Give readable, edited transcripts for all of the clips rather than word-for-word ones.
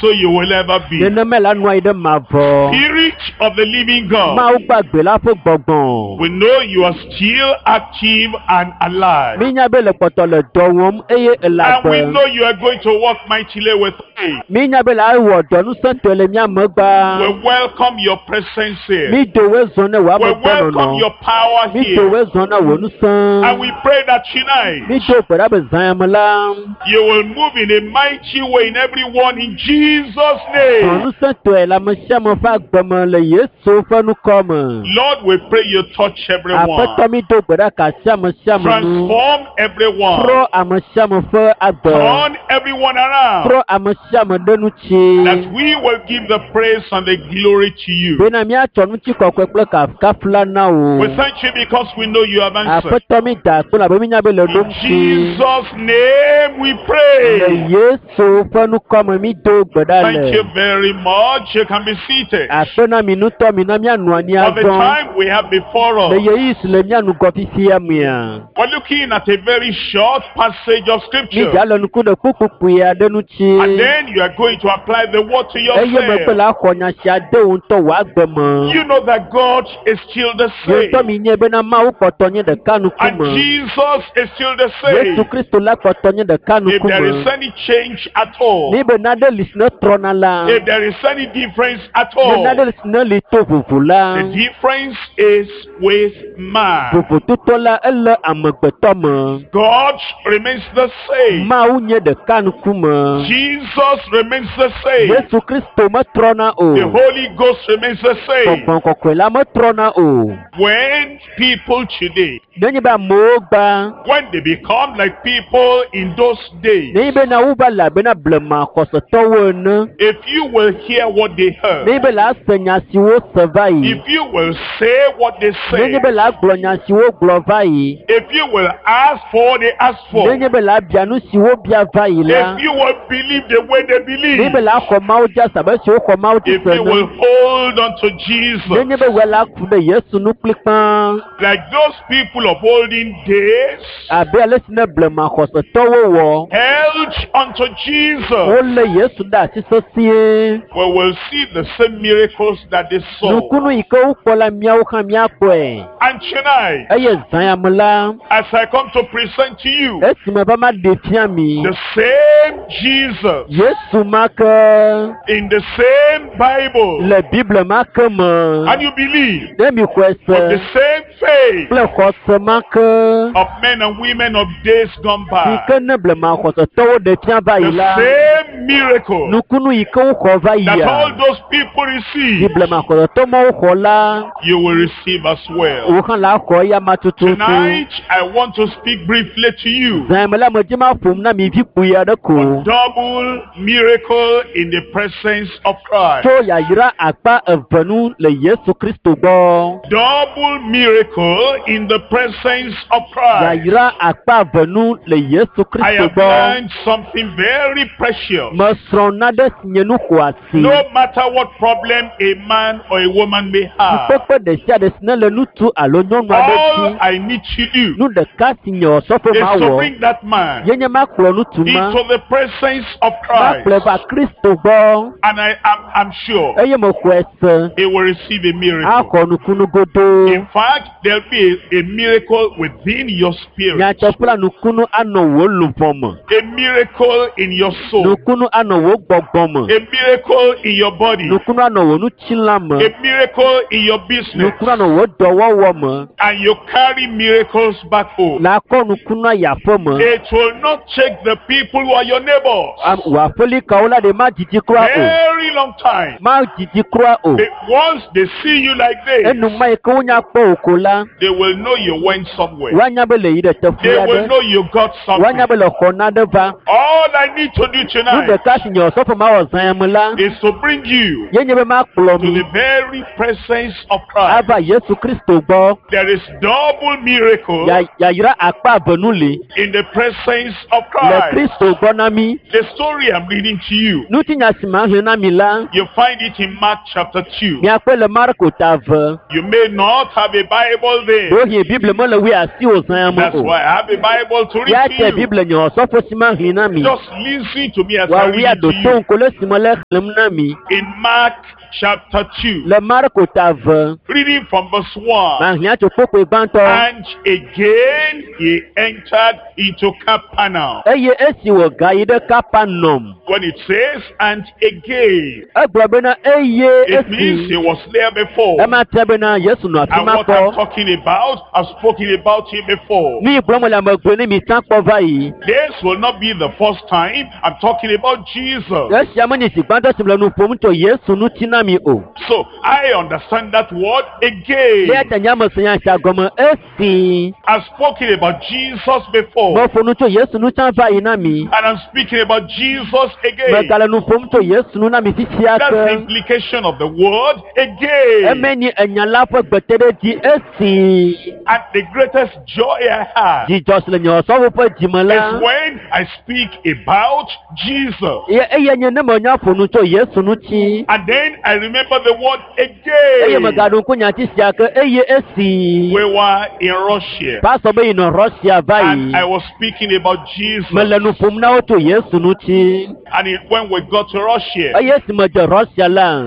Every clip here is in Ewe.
So you will ever be. Nenema la nɔ anyi ɖe mavɔ. Spirit of the living God, Mawu gbagbe la ƒe gbɔgbɔ. we know you are still active and alive. Mínya be le kpɔtɔ le dɔ wɔm eye ele And we agbe. know you are going to work mightily with us. Mínya be le awɔ dɔ nusẽtɔe le mía megbea. We welcome your presence here. Mi do woe zɔ ne wò We ame welcome gbɔnɔnɔ. your power Mi do here. woe zɔ na wò nusẽ. And we pray that tonight Mi do gbe ɖa be zã ya me la, you will move in a mighty way in everyone in Jesus' zɔ name. nusẽtɔe le ame sia ame ƒe agbe me le Yesu ƒe ŋkɔ me. Lord, we pray you touch everyone. Aƒetɔ mi do gbe ɖa ka asi ame sia ame nu. Transform everyone. Trɔ ame sia ame ƒe agbe. Turn everyone around. Trɔ ame sia ame ɖe ŋuti. That we will give the praise and the glory to you. Bena míatsɔ ŋutikɔkɔe kple kafukafu la na wò. We thank you because we know you have answered. Aƒetɔ mi da akpe labe mínya be le In ɖo ŋuti. Jesus' name we Le pray. Yesu ƒe ŋkɔ me mi do gbe ɖa Thank you le. very much. You can be seated. Akpe na mi ŋutɔ mi na míanɔ anyi For the azɔ. time we have before Le us, ɣeyiɣi si le mía ŋgɔ fifia mea, we're looking at a very short passage of mi scripture. dza le ŋku ɖe kpukpukpui aɖe ŋuti. And then you are going to apply the word to Eye megbe yourself. la xɔ nya sia de wò ŋutɔ wò agbe me. You know that God is still the Ye same. ŋutɔ mi nye bena Mawu kpɔtɔ nye ɖeka And ŋkume. Jesus is still the Yesu same. Kristo la kpɔtɔ nye ɖeka If there is ŋkume. any change at all, Ni be nane li si ne trɔna la, if there is any difference at ne nane all, li si ne li to vovo la, the difference is with man. vovototɔ la ele amegbetɔ me. God remains the same. Mawu nye ɖeka ŋkume. Jesus remains the same. Yesu Kristo metrɔna o. The Holy Ghost remains the same. Gbɔgbɔ kɔkɔe la metrɔna o. When people today, Nenye be amewo gba, when they become like people in those days, nenye be na wova le abe na blema xɔsetɔwo ene, if you will hear what they heard, nenye be la se nya siwo se va yi, if you will say what they say, nenye be la gblɔ nya siwo gblɔ va yi, if you will ask for what they ask for, nenye be la bia nu siwo bia va yi la, if you will believe the way they nenye be believe, la xɔ Mawu dzi ase abe siwo xɔ Mawu dzi if se you ene, will hold on to Jesus, nenye be wòe la ku ɖe Yesu nu kplikpaa like those people of olden days abe ale si ne blema xɔsetɔwo wɔ, held unto Jesus, wolé Yesu ɖe asi sesĩe. we will see the same miracles that they saw. Nukunu yi ke wokpɔ la míawo hã míakpɔe. And tonight, Eye zã ya me la, as I come to present to you esime va ma ɖe fia mi, the same Jesus Yesu ma ke in the same Bible, le Bible ma ke me, and you believe ne mi xɔe with the se same faith kple xɔse ma ke of men and women of days gone yi by, ke ne blema xɔsetɔwo ɖe fia va yi the la, same miracle nukunu yi ke woxɔ va that all yia, those people si received, blema xɔsetɔ mawo xɔ la, you will receive as well. wò hã la xɔ eya ma tututu. Tonight, I want to speak briefly to you. Zã ya me la, medzi ma ƒom na mi vi kpui aɖe ko. Double miracle in the presence of Christ. Tso yayra akpa eve nu le Yesu Kristo gbɔ. Double miracle in the presence of Christ. Yayra akpa eve nu le Yesu I Kristo have gbɔ. learned something very precious. Mesrɔ̃ nane si nye nu xɔasi. No matter what problem a man or a woman may have, Fukpekpe ɖe sia ɖe si ne le ŋutsu alo nyɔnu aɖe all dzi, I need to do nu ɖeka si nye osɔfo is ma to wɔ, bring that man ye nye makplɔ ŋutsu ma, into the presence of makplɔe Christ. va Kristo gbɔ And I am I'm sure eye mexɔe se he will receive a miracle. axɔ nukunu godoo. In fact, there'll be a miracle within your spirit, Nyateƒe la nukunu anɔ wò luʋɔ me, a miracle in your soul, nukunu anɔ wò gbɔgbɔ me, a miracle in your body, nukunu anɔ wò ŋutilã me, a miracle in your business, nukunu anɔ wò dɔwɔwɔ me. and you carry miracles back home. La kɔ nukunu ayi aƒe me. It will not take the people who are your neighbors Am- Wò aƒelikawo la ɖe ma dzidzi kura o, very long time. ma dzidzi kura o. Once they see you like this, Enuma yi ke wonya kpɔ wò ko la, they will know you went somewhere. woanya be le yi ɖe teƒe They will aɖe, know you got woanya something. be le xɔ nane va. All I need to do Nu tonight ɖeka si nye osɔfo ma wɔ zã ya me la, is to bring you ye nye be makplɔ to mi the very presence of Christ. ava Yesu Kristo gbɔ. There is double miracle Ya- Yayra akpa eve nu li in the presence of le Christ. Kristo gbɔ na mi. The story I'm reading to you Ŋutinya si ma hlẽ na mi la You find it in Mark chapter 2. miakpɔe le Marko ta ve. You may not have a Bible there. Ɖewohĩ Bible mele wi asi wò zã ya me That's o. why I have a Bible to Ya read tɛ to you. Bible nye ɔsɔfo si ma hlẽ na mi. Just listen to me as I Wòawi read it to aɖo to you. ŋku le si me le xlẽm na mi. In Mark chapter 2, Le Marko ta ve, reading from verse 1. mahlẽ tso kpokpoe gbãtɔ. And again he entered into Capernaum. Eye esi wògayi ɖe Kapernaum, When it says, and again, egblɔ bena eye it means esi he was there before. ema tia bena Yesu nɔ afi And ma what I'm kpɔ. talking about, I've spoken about him before. Nu yi gblɔm le ame gblɔe ne mi tsã kpɔ va yi. This will not be the first time I'm talking about Jesus. Esia menye zi gbãtɔ si le nu ƒom tso Yesu ŋuti na mi o. So I understand that word again. Eya ta nye ame se nya sia gɔme esi I've spoken about Jesus before. meƒo nu tso Yesu ŋu tsã va yi na mi. And I'm speaking about Jesus again. Megale nu ƒom tso Yesu ŋu na mi fifia That's the ke. implication of the word again. Eme nye enya la ƒe gbeteɖedzi esi And the greatest joy I have dzidzɔ si le nye ɔsɔfo ƒe dzime is la. when I speak about Jesus. Ye eye nye ne menya ƒo nu tso Yesu ŋuti. And then I remember the word Eye again. megaɖo ŋku nyati sia ke eye esi We were in Russia. pastor be yinɔ Russia va And yi. I was speaking about Jesus. Mele nu ƒom na wo tso Yesu ŋuti. And when we got to Russia, Eye esi medze Russia la,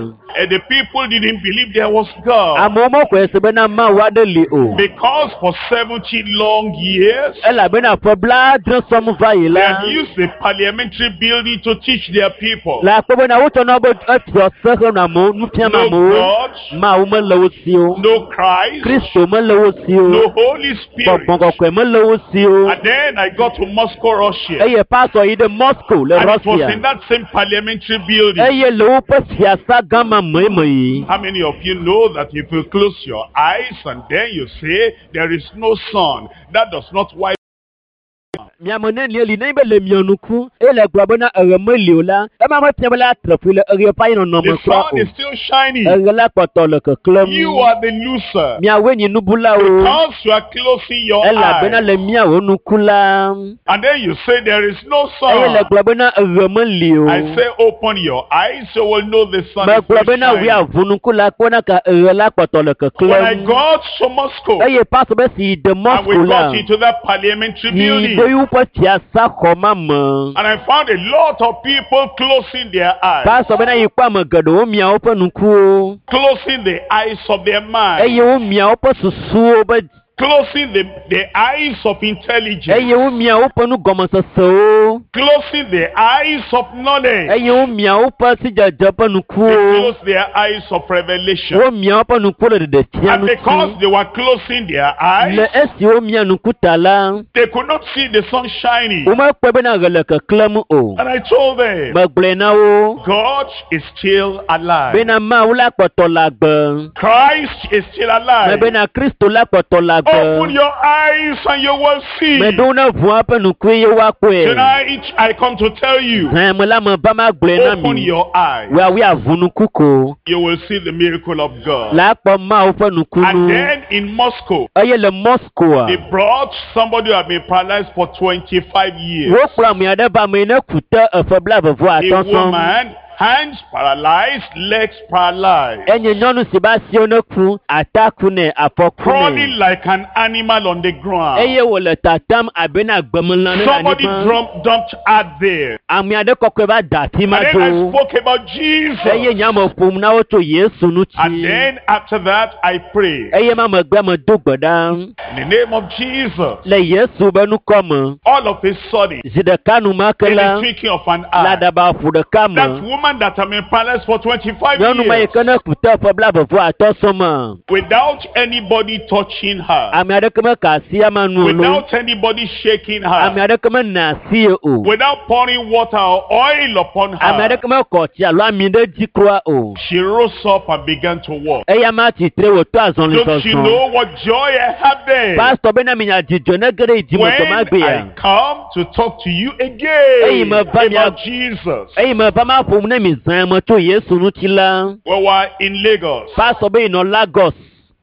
the people didn't believe there was God. amewo mexɔe se bena Mawu aɖe li o. Because for 70 long years, Elabena ƒe blaadre sɔm va yi they la, had used the parliamentary building to teach their people. le akpɔ bena wotsɔna be efiɔ se henɔ amewo nu fiam No amewo. God, Mawu mele wo si o. no Christ, Kristo mele wo si o. no Holy Spirit. Gbɔgbɔ kɔkɔe mele wo si o. And then I got to Moscow, Russia. Eye pastor yi ɖe Moscow le And it was Russia. in that same parliamentary building. Eye le woƒe fiasa gã ma me me yi. How many of you know that if you close your eyes and then you say there is no sun, that does not wipe Miame ne li ne be le mia nuku eye le gblɔ bena eɣe meli o la, ema mefia be la tre ƒui le eɣe ƒe anyinɔnɔ The me kura sun o. is still shining. Eɣe la kpɔtɔ le keklẽm. You are the loser. Miawoe nye nubulawo Because you are closing your elabena eyes. le miawo nuku la And then you say there is no eye le sun. gblɔ bena eɣe meli o. I say open your eyes so you will know the sun is Megblɔ still bena shining. wui aʋu nuku la kpɔna ka eɣe la kpɔtɔ le When I keklẽm. got to Moscow Eye pastor be si yi de and Moscow we la got into that parliamentary yi building ɖe woƒe fiasa xɔ ma me. and I found a lot of people closing their eyes, Pastor bena yi kpɔ ame geɖewo mia woƒe nukuwo closing the eyes of their mind, eye womia woƒe susuwo be closing the eyes of intelligence, eye womia woƒe nugɔmesesewo closing the eyes of knowledge, eye womia woƒe sidzedze ƒe they nukuwo closed their eyes of revelation. womia woƒe nukuwo le ɖeɖefia And because ŋuti they were closing their eyes, le esi womia nuku ta la they could not see the sun shining. womekpɔe bena ɣe le keklẽm o And I told them, megblɔe na wo God is still alive. bena Mawu la kpɔtɔ le agbe Christ is still alive. mebena Kristo la kpɔtɔ le Open agbe your eyes and you will see. meɖo ne ʋu eƒe nukue ye woakpɔe Tonight I come to tell you, hẽ me la me va ma gblɔe na open mi your eyes. woawoe aʋu nuku ko You will see the miracle of God. la akpɔ Mawu ƒe And nukunu then in Moscow, eye le Moscow they brought somebody who had been paralyzed for 25 years. wokplɔ ame aɖe va ame yi ne ku te eƒe blaeve vɔ A atɔ̃ sɔŋ woman, hands paralyzed, legs paralyzed, enye nyɔnu si be asiwo ne ku ata ku nɛ afɔ ku crawling nɛ like an animal on the ground. eye wòle tatam abe na gbemelã ne le Somebody anyigba dumped her there. ame aɖe kɔkɔe va da afi ma And then I do spoke about Jesus. eye nye ame ƒom na wo tso Yesu And ŋuti then after that, I prayed. eye ma megbe medo gbe ɖa In the name of Jesus, le Yesu be ŋkɔ me all of a sudden, zi ɖeka numake in la the twinkling of an le eye, aɖaba ƒu ɖeka that me woman that had been paralyzed for 25 nyɔnu ma yi years, ke ne ku te ƒe blaeve vɔ atɔ̃ sɔŋ me without anybody touching her, ame aɖeke meka asi ama nu o lo without anybody shaking ame her, aɖeke mena asi ye o without pouring water or oil upon ame her, aɖeke mekɔ tsi alo ami ɖe dzi kura o she rose up and began to walk. eya ma tsitre wòtɔ azɔli Don't you zɔzɔ know what joy I have there? pastor bena minya dzidzɔ ne ge ɖe yi dzime When dɔ ma gbea I come to talk to you again Eyi me va mia- about Jesus. eyi me va ma ƒom ne mi zã me tso Yesu ŋuti la We were in Lagos pastor be yinɔ Lagos.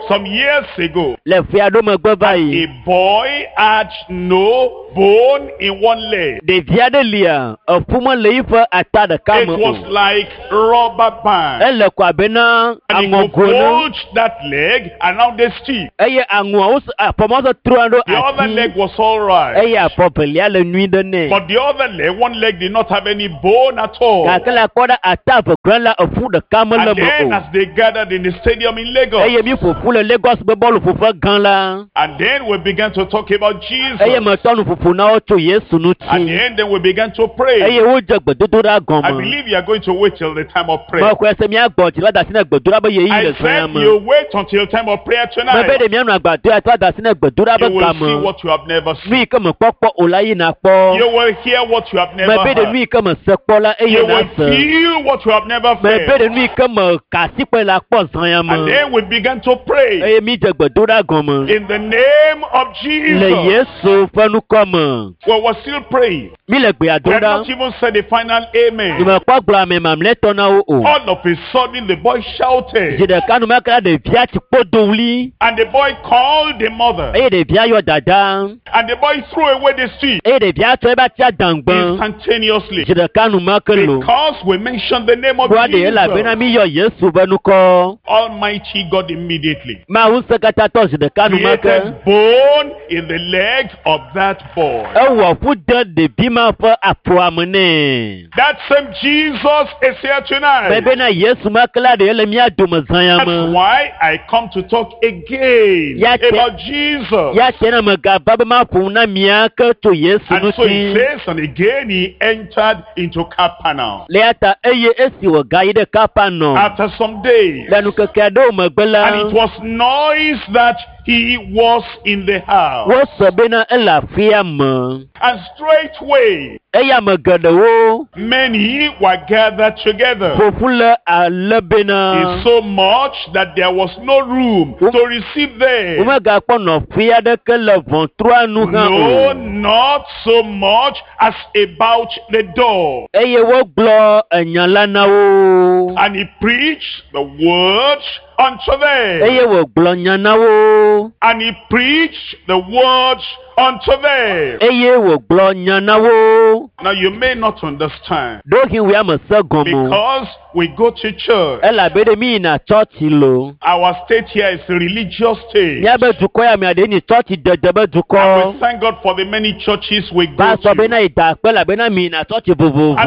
Some years ago, Le ƒe aɖewo megbe va yi. a boy had no bone in one leg. Ɖevi aɖe lia eƒu mele yiƒe ata ɖeka It me was o. like rubber band. Ele ko abe na And he could aŋɔgo ne. hold that leg around the stick. Eye aŋɔawo afɔmawo se trɔa ɖo The other ati. leg was all right. Eye afɔ velia le nyui ɖe nɛ. But the other leg, one leg did not have any bone at all. Gake le akpɔ ɖe ata eve gblẽ la eƒu ɖeka mele And me then o. as they gathered in the stadium in Lagos, Eye mi ƒoƒu le Lagos be bɔlu ƒoƒe gã la. and then we began to talk about Jesus. Eye metɔ nu ƒoƒo na wo tso Yesu And ŋuti. then we began to pray. Eye wodze gbedodoɖa I gɔme. believe you are going to wait till the time of prayer. Mexɔe se miagbɔ dzi va da asi ne gbedoɖa be yeyi I le zã said me. you wait until time of prayer Mebe tonight. ɖe mianɔ agbadɔ ya va da asi ne gbedoɖa You be will see game. what you have never Nu seen. yi ke mekpɔkpɔ o la yi nakpɔ. You will hear what you have never Mebe ɖe heard. nu yi ke mese kpɔ la eye You will nase. feel what you have never Mebe felt. ɖe nu yi ke me ka asi kpɔe la kpɔ zã ya And me. then we began to pray Eye mi dze gbedoɖa gɔme. in the name of Le Jesus. Yesu ƒe ŋkɔ me. We were still praying. Mi le gbea We dom had ɖa. not even said the final amen. Nyemekpɔ gblɔ ame mamlɛtɔ na wo o. All of a sudden, the boy shouted, Zi ɖeka numeke la ɖevia tsi kpo do wli and the boy called the mother, eye ɖevia yɔ dada and the boy threw away the stick eye ɖevia tsɔ eƒe atia dãgbe. instantaneously. Zi ɖeka numeke lo. Because we mentioned the name of Kpɔa ɖe elabena Jesus. mi yɔ Yesu ƒe ŋkɔ. Almighty God immediately Mawu ŋusẽkatãtɔ zi ɖeka numeke. created bone in the leg of that boy. Ewɔ ƒu de ɖevi ma ƒe afɔa me nɛ. That same Jesus is here tonight. Mebena Yesu ma ke la ɖe ele mía dome zã ya That's me. why I come to talk again Yeah, about Jesus. Ya tse na megava be maƒo nu na mia ke tso Yesu And so he ŋuti. says, and again he entered into Capernaum. Le ya ta eye esi wògayi ɖe Kapernaum After some days, le nukeke aɖewo megbe la, and it was noise that he was in the house. wose bena ele aƒea me. And straightway, Eye ame geɖewo many were gathered together. ƒoƒu le ale bena It's so much that there was no room to receive them. womegakpɔ nɔƒe aɖeke le ʋɔtrua nu hã No, o. not so much as about the door. Eye wogblɔ enya la na wo. And he preached the word unto them. Eye wògblɔ nya na wo. And he preached the word unto them. Eye wògblɔ nya na wo. Now you may not understand Ɖewohĩ wòe ame se gɔme o. because we go to church. Elabe ɖe mi yina tsɔtsi lo. Our state here is a religious state. Míabe dukɔ ya mea ɖe nyi tsɔtsi dede be And dukɔ. we thank God for the many churches we go Va sɔ to. bena yi da akpe elabena mi yina tsɔtsi And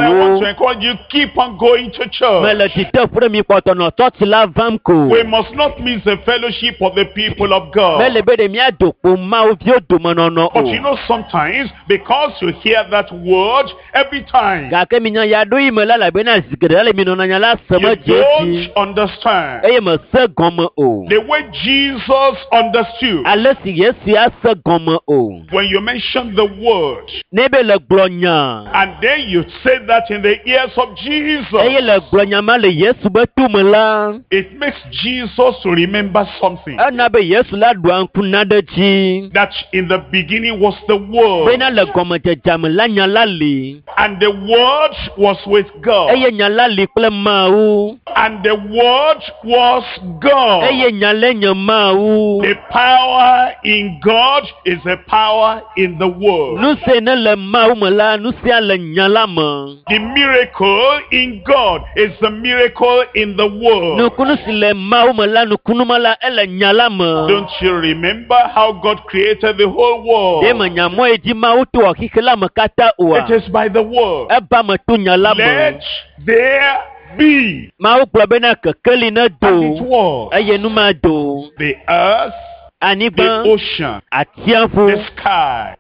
I want vovovowo. to encourage you, keep on going to church. Mele dzide ƒo ɖe mi kpɔtɔ nɔ tsɔtsi la vam ko. We must not miss the fellowship of the people of God. Mele be ɖe míado kpo Mawu viwo domenɔnɔ But you o. know, sometimes, because you hear that word every time, Gake minya ya ɖo yi me la elabena zi geɖe le mi nɔna nya la se you me dze edzi don't understand. eye me se gɔme o. The way Jesus understood, Ale si Yesu ya se gɔme o. when you mention the word, Ne be le gblɔ nya and then you say that in the ears of Jesus, eye le gblɔ nya ma le Yesu be tome la, it makes Jesus to remember something. ena be Yesu la ɖua ŋku na ɖe dzi. That in the beginning was the word, Bena le gɔmedzedze me la nya la li and the word was with God, eye nya la li kple Mawu and the word was God. eye nya la nye Mawu. The power in God is the power in the word. Nu si ne le Mawu me la, nu sia le nya la me. The miracle in God is the miracle in the word. Nukunu si le Mawu me la, nukunu ma la, ele nya la me. Don't you remember how God created the whole Ɖe world? menya mɔ yi dzi Mawu to wɔ xexe la me katã oa? It is by the word. Eba me to nya la me. Let there be. Mawu gblɔ bena kekeli ne And it do was. eye nu ma do. The earth, the Anyigba, ocean, atsiaƒu, the sky,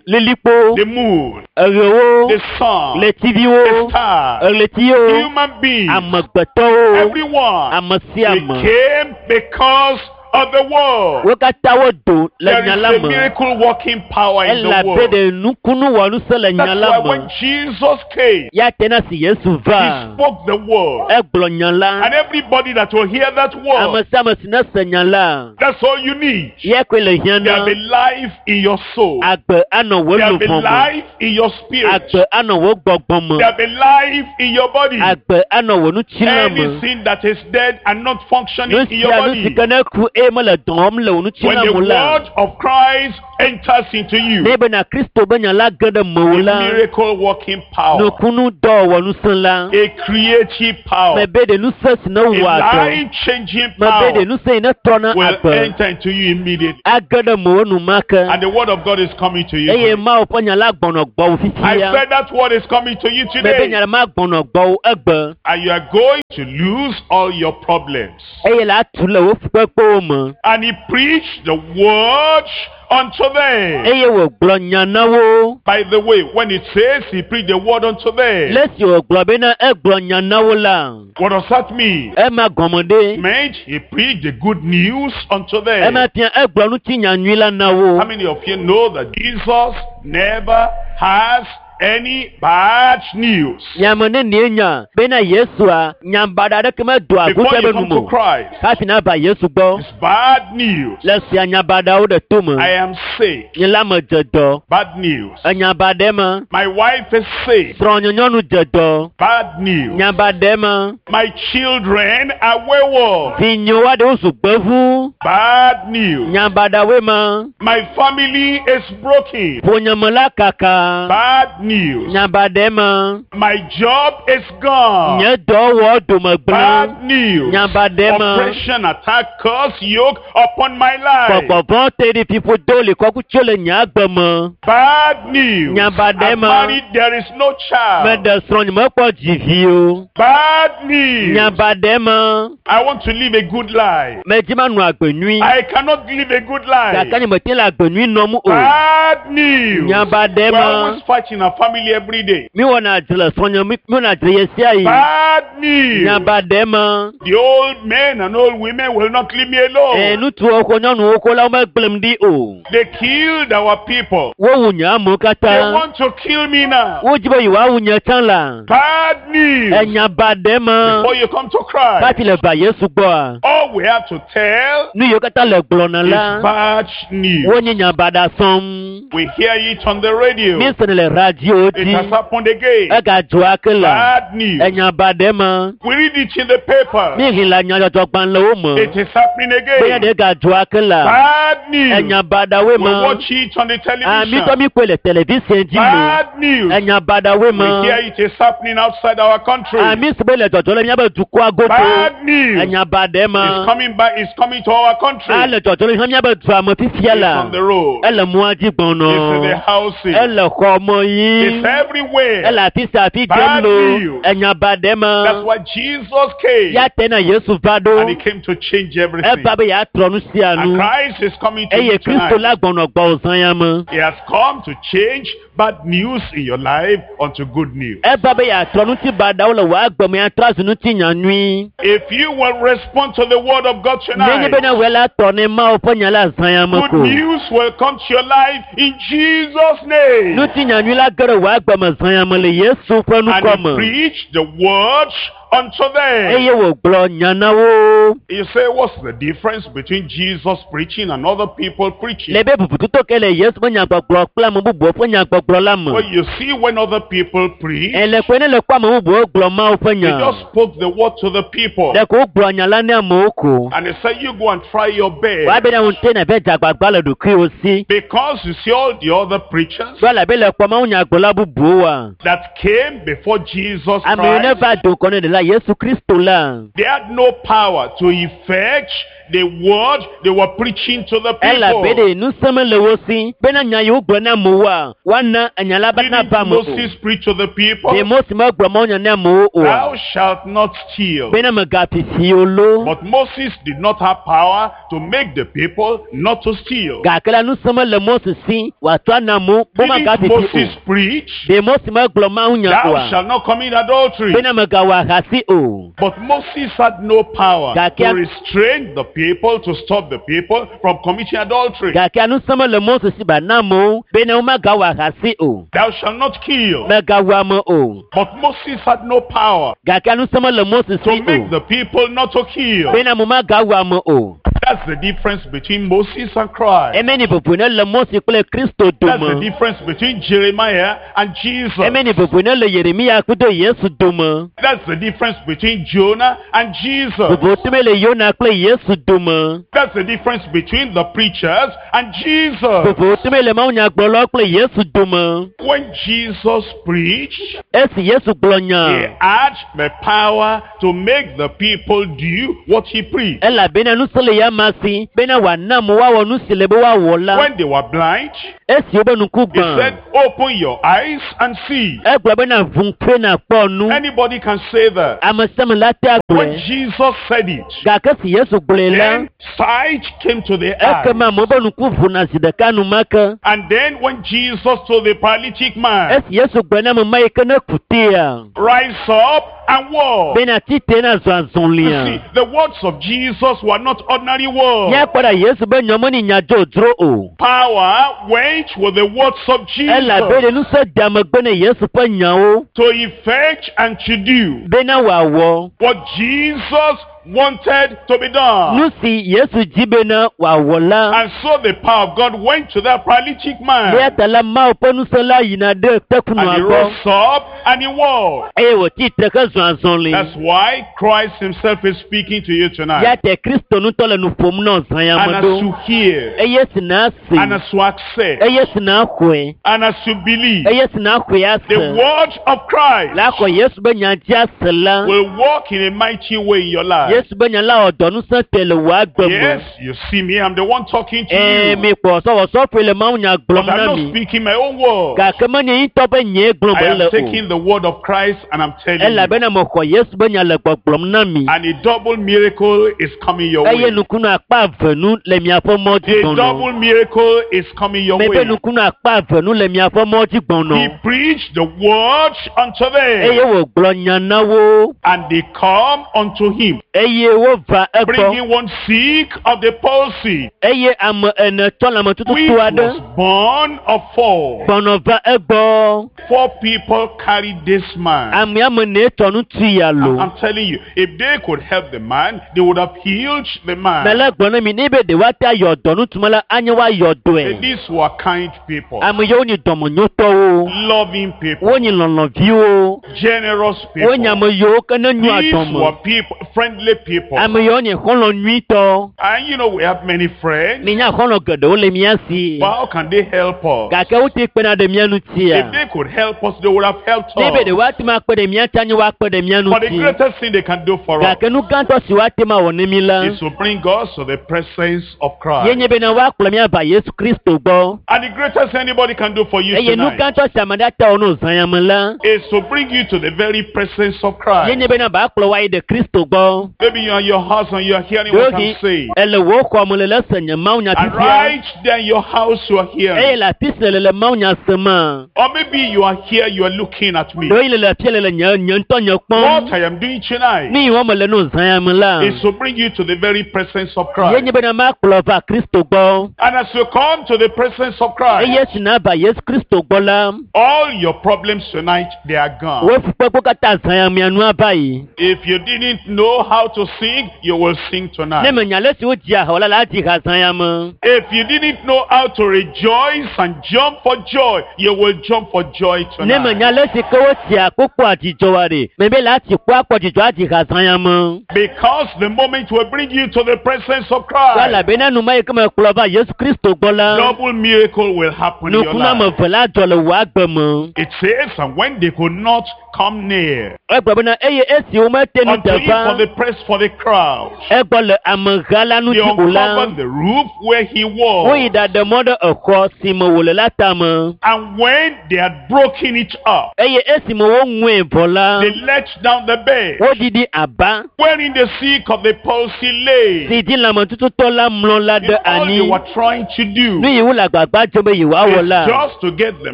lilikpo, the moon, eɣewo, the sun, the ɣletiviwo, stars, ɣletiwo, human beings, amegbetɔwo, everyone. ame sia We ame. came because of the word. Wo katã wodo le There nya is la a me. miracle working power in the Elabe world. ɖe nukunu wɔnusẽ le nya That's la why me. when Jesus came, Ya te na si Yesu he va, spoke the word. egblɔ nya la. And everybody that will hear that Ame word, sia ame si ne se nya la, that's all you need. ya koe le hiã There'll na. be life in your soul. Agbe anɔ wò There'll be luʋɔ me. life in your spirit. Agbe anɔ wò gbɔgbɔ me. There'll be life in your body. Agbe anɔ wò ŋutilã me. Anything that is dead and not functioning Nu in your sia nu si body ke ne ku eye mele dɔ wɔm le wò When ŋutilã the me o la word of Christ enters into you, ne bena Kristo be nya la ge ɖe mewò a la miracle working power, nukunu dɔwɔwɔ ŋusẽ la a creative power, mebe ɖe ŋusẽ si ne a wɔa dɔ life changing mebe ɖe power ŋusẽ yi ne trɔna will agbe enter into you immediately. age ɖe mewò enumake And the word of God is coming to you. eye today. Mawu ƒe nya la gbɔnɔ gbɔwò I fifia said that word is coming to you mebe today. nya la ma gbɔnɔ gbɔwò egbe And you are going to lose all your problems. eye la atu le wò fukpekpewo me And he preached the word unto them. eye wògblɔ nya na wo By the way, when it says he preached the word unto them, le si wògblɔ bena egblɔ nya na wo la what does that mean? ema gɔme ɖe Meant he preached the good news unto them. ema fia egblɔ ŋuti nya nyui la na wo How many of you know that Jesus never has any bad news? nyame ne nie nya bena Yesua nyabaɖa aɖeke medoa Before aguta you be come nu to me o Christ, hafi nava Yesu gbɔ it's bad news. le sia nyabaɖawo ɖe to me I am sick. nye la me dze dɔ Bad news. enyabaɖe me My wife is sick. srɔ̃nye nyɔnu dze dɔ Bad news. nyabaɖe me My children are wayward. vinyewo aɖewo zu gbevu Bad news. nyabaɖawoe me My family is broken. ƒonyeme la kaka Bad news. nyabaɖe me My job is gone. nye dɔwɔ dome gblẽ Bad news. nyabaɖe me Oppression, attack, curse, yoke upon my life. gbɔgbɔvɔ te ɖi fiƒo do li kɔkutso le nye agbe me Bad news. Nyabaɖe I'm me. married, there is no child. meɖe srɔ̃ nye mekpɔ dzivi o Bad news. nyabaɖe me I want to live a good life. medzi manɔ agbe nyui I cannot live a good life. gake nye mete le agbe nyui nɔm o Bad news. Nyabaɖe We're me always fighting our family every day. miwɔna dzre le srɔ̃nye mi miwɔna dzre ɣe sia ɣi Bad news. nyabaɖe me The old men and old women will not leave me alone. ee ŋutsuwo ko nyɔnuwo ko la womegblẽm ɖi o They killed our people. wowu nye amewo They katã want to kill me now. wodzi be yewoawu nye tsã la Bad news. enyabaɖe me Before you come to Christ, hafi le va Yesu gbɔa all we have to tell nu yiwo katã le gblɔna is la bad news. wonye nyabaɖa sɔm We hear it on the radio. míesene le radio It dzi has happened again. egadzɔ ake la Bad news. enyabaɖe me We read it in the paper. míexlẽ le nyadzɔdzɔgbalẽwo me It is happening benya again. ɖe gadzɔ ake la Bad news. enyabaɖawoe We me watch it on the amitɔ television. mi koe le television dzi lo Bad news. enyabaɖawoe We me hear it is happening outside our country. ami si be le dzɔdzɔ le míabe dukɔa godo Bad news. enyabaɖe me It's coming back. It's coming to our country. ele dzɔdzɔ le hã míabe dua me fifia It's la on the road. ele mɔa dzi gbɔnɔ It's in the houses. ele xɔ me yi It's everywhere. ele afi sia afi dzem Bad lo news. enyabaɖe me That's why Jesus came. ya te na Yesu va ɖo And he came to change everything. eva be yeatrɔ nu sia And nu Christ is coming to eye you Kristo tonight. la gbɔnɔ gbɔwò zã ya me He has come to change bad news in your life unto good news. eva be yeatrɔ ŋuti baɖawo le wò agbe me atrɔ azu ŋuti nya nyui If you will respond to the word of God nenye tonight, bena wòe la tɔ ne Mawu ƒe nya la zã ya me good ko news will come to your life in Jesus' name. ŋuti nya nyui la ge ɖe wò agbe me zã ya me le Yesu ƒe And ŋkɔ he me preached the word unto them. eye wògblɔ nya na wo You say, what's the difference between Jesus preaching and other people preaching? le be bubututo ke le Yesu ƒe nyagbɔgblɔ kple ame bubuwo ƒe nyagbɔgblɔ la me Well, you see, when other people preach, ele koe ne le kpɔ ame bubuwo gblɔ Mawu ƒe they nya just spoke the word to the people. ɖeko wogblɔ nya la ne amewo ko And they say, you go and try your best. woabe ne ŋute nave dze agbagba le ɖokuiwo si Because you see all the other preachers do elabe le kpɔ Mawu nyagblɔla bubuwoa that came before Jesus amewo ne Christ, va do ŋgɔ ne ɖela Yesu Kristo la they had no power to effect the word they were preaching to the elabe people. ɖe ŋusẽ mele wo si bena nya yi wogblɔ na amewoa woana enya la be Didn't nava ame o Moses preach to the people? ɖe Mose megblɔ Mawu nya ne amewo Thou oa shalt not steal. bena megafi fi o lo But Moses did not have power to make the people not to steal. gake la ŋusẽ mele Mose si wòatsɔ ana amewo be Didn't magafi fi o Moses preach, ɖe Mose megblɔ Mawu nya Thou oa shalt not commit adultery? bena megawɔ ahasi o But Moses had no power Gake- to restrain the people, to stop the people from committing adultery. gake ŋusẽ mele Mose si ba na amewo bena womagawɔ ahasi o Thou shalt not kill. megawu ame o But Moses had no power gake ŋusẽ mele Mose to si make o the people not to kill. bena ame magawu ame o. That's the difference between Moses and Christ. Eme ni vovo ne le Mose kple Kristo That's the dome. difference between Jeremiah and Jesus. Eme ni vovo ne le Yeremia kudo Yesu dome. That's the difference between Jonah and Jesus. Vovo tome le Yona kple Yesu dome. That's the difference between the preachers and Jesus. Vovo tome le mawunyagblɔlawo kple Yesu dome. When Jesus preached, Esi Yesu gblɔ he nya, had the power to make the people do what he preached. elabena ŋusẽ le ya ma si bena wòana amewo woawɔ nu si le be woawɔ la. When they were blind, Esi wobe ŋku he gbã, said, Open your eyes and see. egblɔ bena ʋu ŋkue nàkpɔ nu. Anybody can say that. Ame sia ame la te When agblɔe. Jesus said it, Gake si Yesu gblɔe la, then sight came to the eye. ekema amewo be ŋku ʋuna zi ɖeka enumake. And then when Jesus told the paralytic man, Esi Yesu gblɔ na ame ma yi ke ne ku tea, Rise up and walk. bena tite na zɔ You azɔlia. see, the words of Jesus were not ordinary words. Míakpɔ ɖa Yesu be nyɔ menye nya dzodzro o. Power went with the words of Elabe Jesus ɖe ŋusẽ de megbe ne Yesu ƒe nyawo to effect and to do bena wòawɔ what Jesus wanted to be done. nu si Yesu dzi bena wòawɔ la. And so the power of God went to that paralytic man. Eya ta la Mawu ƒe ŋusẽ la yina ɖe And tekunua he gbɔ rose up and he walked. eye wòtsi tre ke zɔ azɔli. That's why Christ himself is speaking to you Ya tonight. te Kristo ŋutɔ le nu ƒom na zã ya And me as ɖo. you hear, Eye si na se, and as you accept, eye si na xɔe, and as you believe, eye si na xɔe the ase. word of Christ La xɔ Yesu be nya dzi ase la. will work in a mighty way in your life. Yesu be nya la wɔ dɔ ŋusẽ te le wò agbe me. Yes, you see me, I'm the one talking to Ee, you. mi kpɔ sɔwɔsɔƒoe le Mawu nya But gblɔm I'm na not mi. speaking my own word. Gake menye ŋutɔ be nyee gblɔm I mele am o. taking the word of Christ and I'm telling you. Elabena mexɔ Yesu be nya le gbɔgblɔm na mi. And a double miracle is coming your Eye way. nukunu akpa eve nu le miaƒe mɔ dzi A gbɔnɔ. double miracle is coming your Mebe way. nukunu akpa eve nu le miaƒe mɔ dzi He gbɔnɔ. preached the word unto Eye them, wògblɔ nya na wo and they come unto him, eye wova egbɔ. bringing one sick of the palsy, Eye ame ene tɔ which lãmetututu aɖe was born of four. gbɔnɔ va egbɔ. Four people carried this man. Ame ame ene tɔ ŋutsu ya lo. I'm telling you, if they could help the man, they would have healed the man. Mele gblɔ na mi ne be ɖe woate ayɔ dɔ ŋutsu la anye woayɔ dɔe. These were kind people, Ame yiwo nye dɔmenyotɔwo. loving people, Wonye lɔlɔ̃viwo. generous Wonye people. ame yiwo ke ne nyoa These dɔme. were people, friendly people. Ame yiwo nye xɔlɔ̃ nyuitɔ. And you know, we have many friends. Minya xɔlɔ̃ geɖewo le mía si. But how can they help us? Gake wote kpena ɖe mía ŋutia. If they could help us, they would have helped Ne be ɖe us. woate ŋu akpe ɖe mía ŋuti anye woakpe ɖe mía But the ŋuti. greatest thing they can do for us Gake nu gãtɔ si woate ŋu awɔ ne mí la, is to bring us to the presence of ye Christ. nye bena woakplɔ mía va Yesu Kristo gbɔ. And the greatest thing anybody can do for you Eye nu tonight gãtɔ si ame ɖe ate awɔ ne wòzã ya me la, is to bring you to the very presence of ye Christ. nye bena ba kplɔ woayi ɖe Kristo gbɔ. Maybe you're in your house and you're hearing what I'm Ɖewohĩ saying. ele wò xɔ me le le se nye mawunya And fifia. right there in your house you are Eye hearing. le afi si le le mawunya sema. Or maybe you are here, you are looking at me. Ɖewohĩ le le afia le le nye nye ŋutɔ nye What kpɔm. I am doing tonight Nu yi wɔm mele ne wòzã ya me la, is to bring you to the very presence of ye Christ. nye bena makplɔ va Kristo gbɔ. And as you come to the presence of Christ, Eye si nava Yesu Kristo gbɔ la, all your problems tonight, they are gone. wò fukpekpewo katã zã ya mea nu ava yi. If you didn't know how to sing, you will sing Ne tonight. menya ale si wodzia ha o la, la dzi ha zã ya me. If you didn't know how to rejoice and jump for joy, you will jump for joy Ne menya tonight. ale si ke wotsia kpokpo adzidzɔ wa ɖe, mebe la tsi kpo akpɔ dzidzɔ adzi ha zã ya me. Because the moment we bring you to the presence of Christ, Elabena nu ma yi ke mekplɔ va Yesu Kristo gbɔ la, double miracle will happen in your nukunu ame life. eve la dzɔ le wò agbe me. It says, and when they could not come near Egblɔ bena eye esi womete nu unto de him for va the press for the crowd, egbɔ le ameha la they ŋuti o la, uncovered the roof where he woyi was. ɖaɖe mɔ ɖe exɔ si me wòle la tame. And when they had broken it up, Eye esime woŋue vɔ la, they let down the bed, woɖiɖi aba wherein the sick of the palsy lay. si dzi lãmetututɔ la mlɔ la ɖe All they anyi. were trying to do Nu yi wole agbagba dzem be yewoawɔ is la, just to get the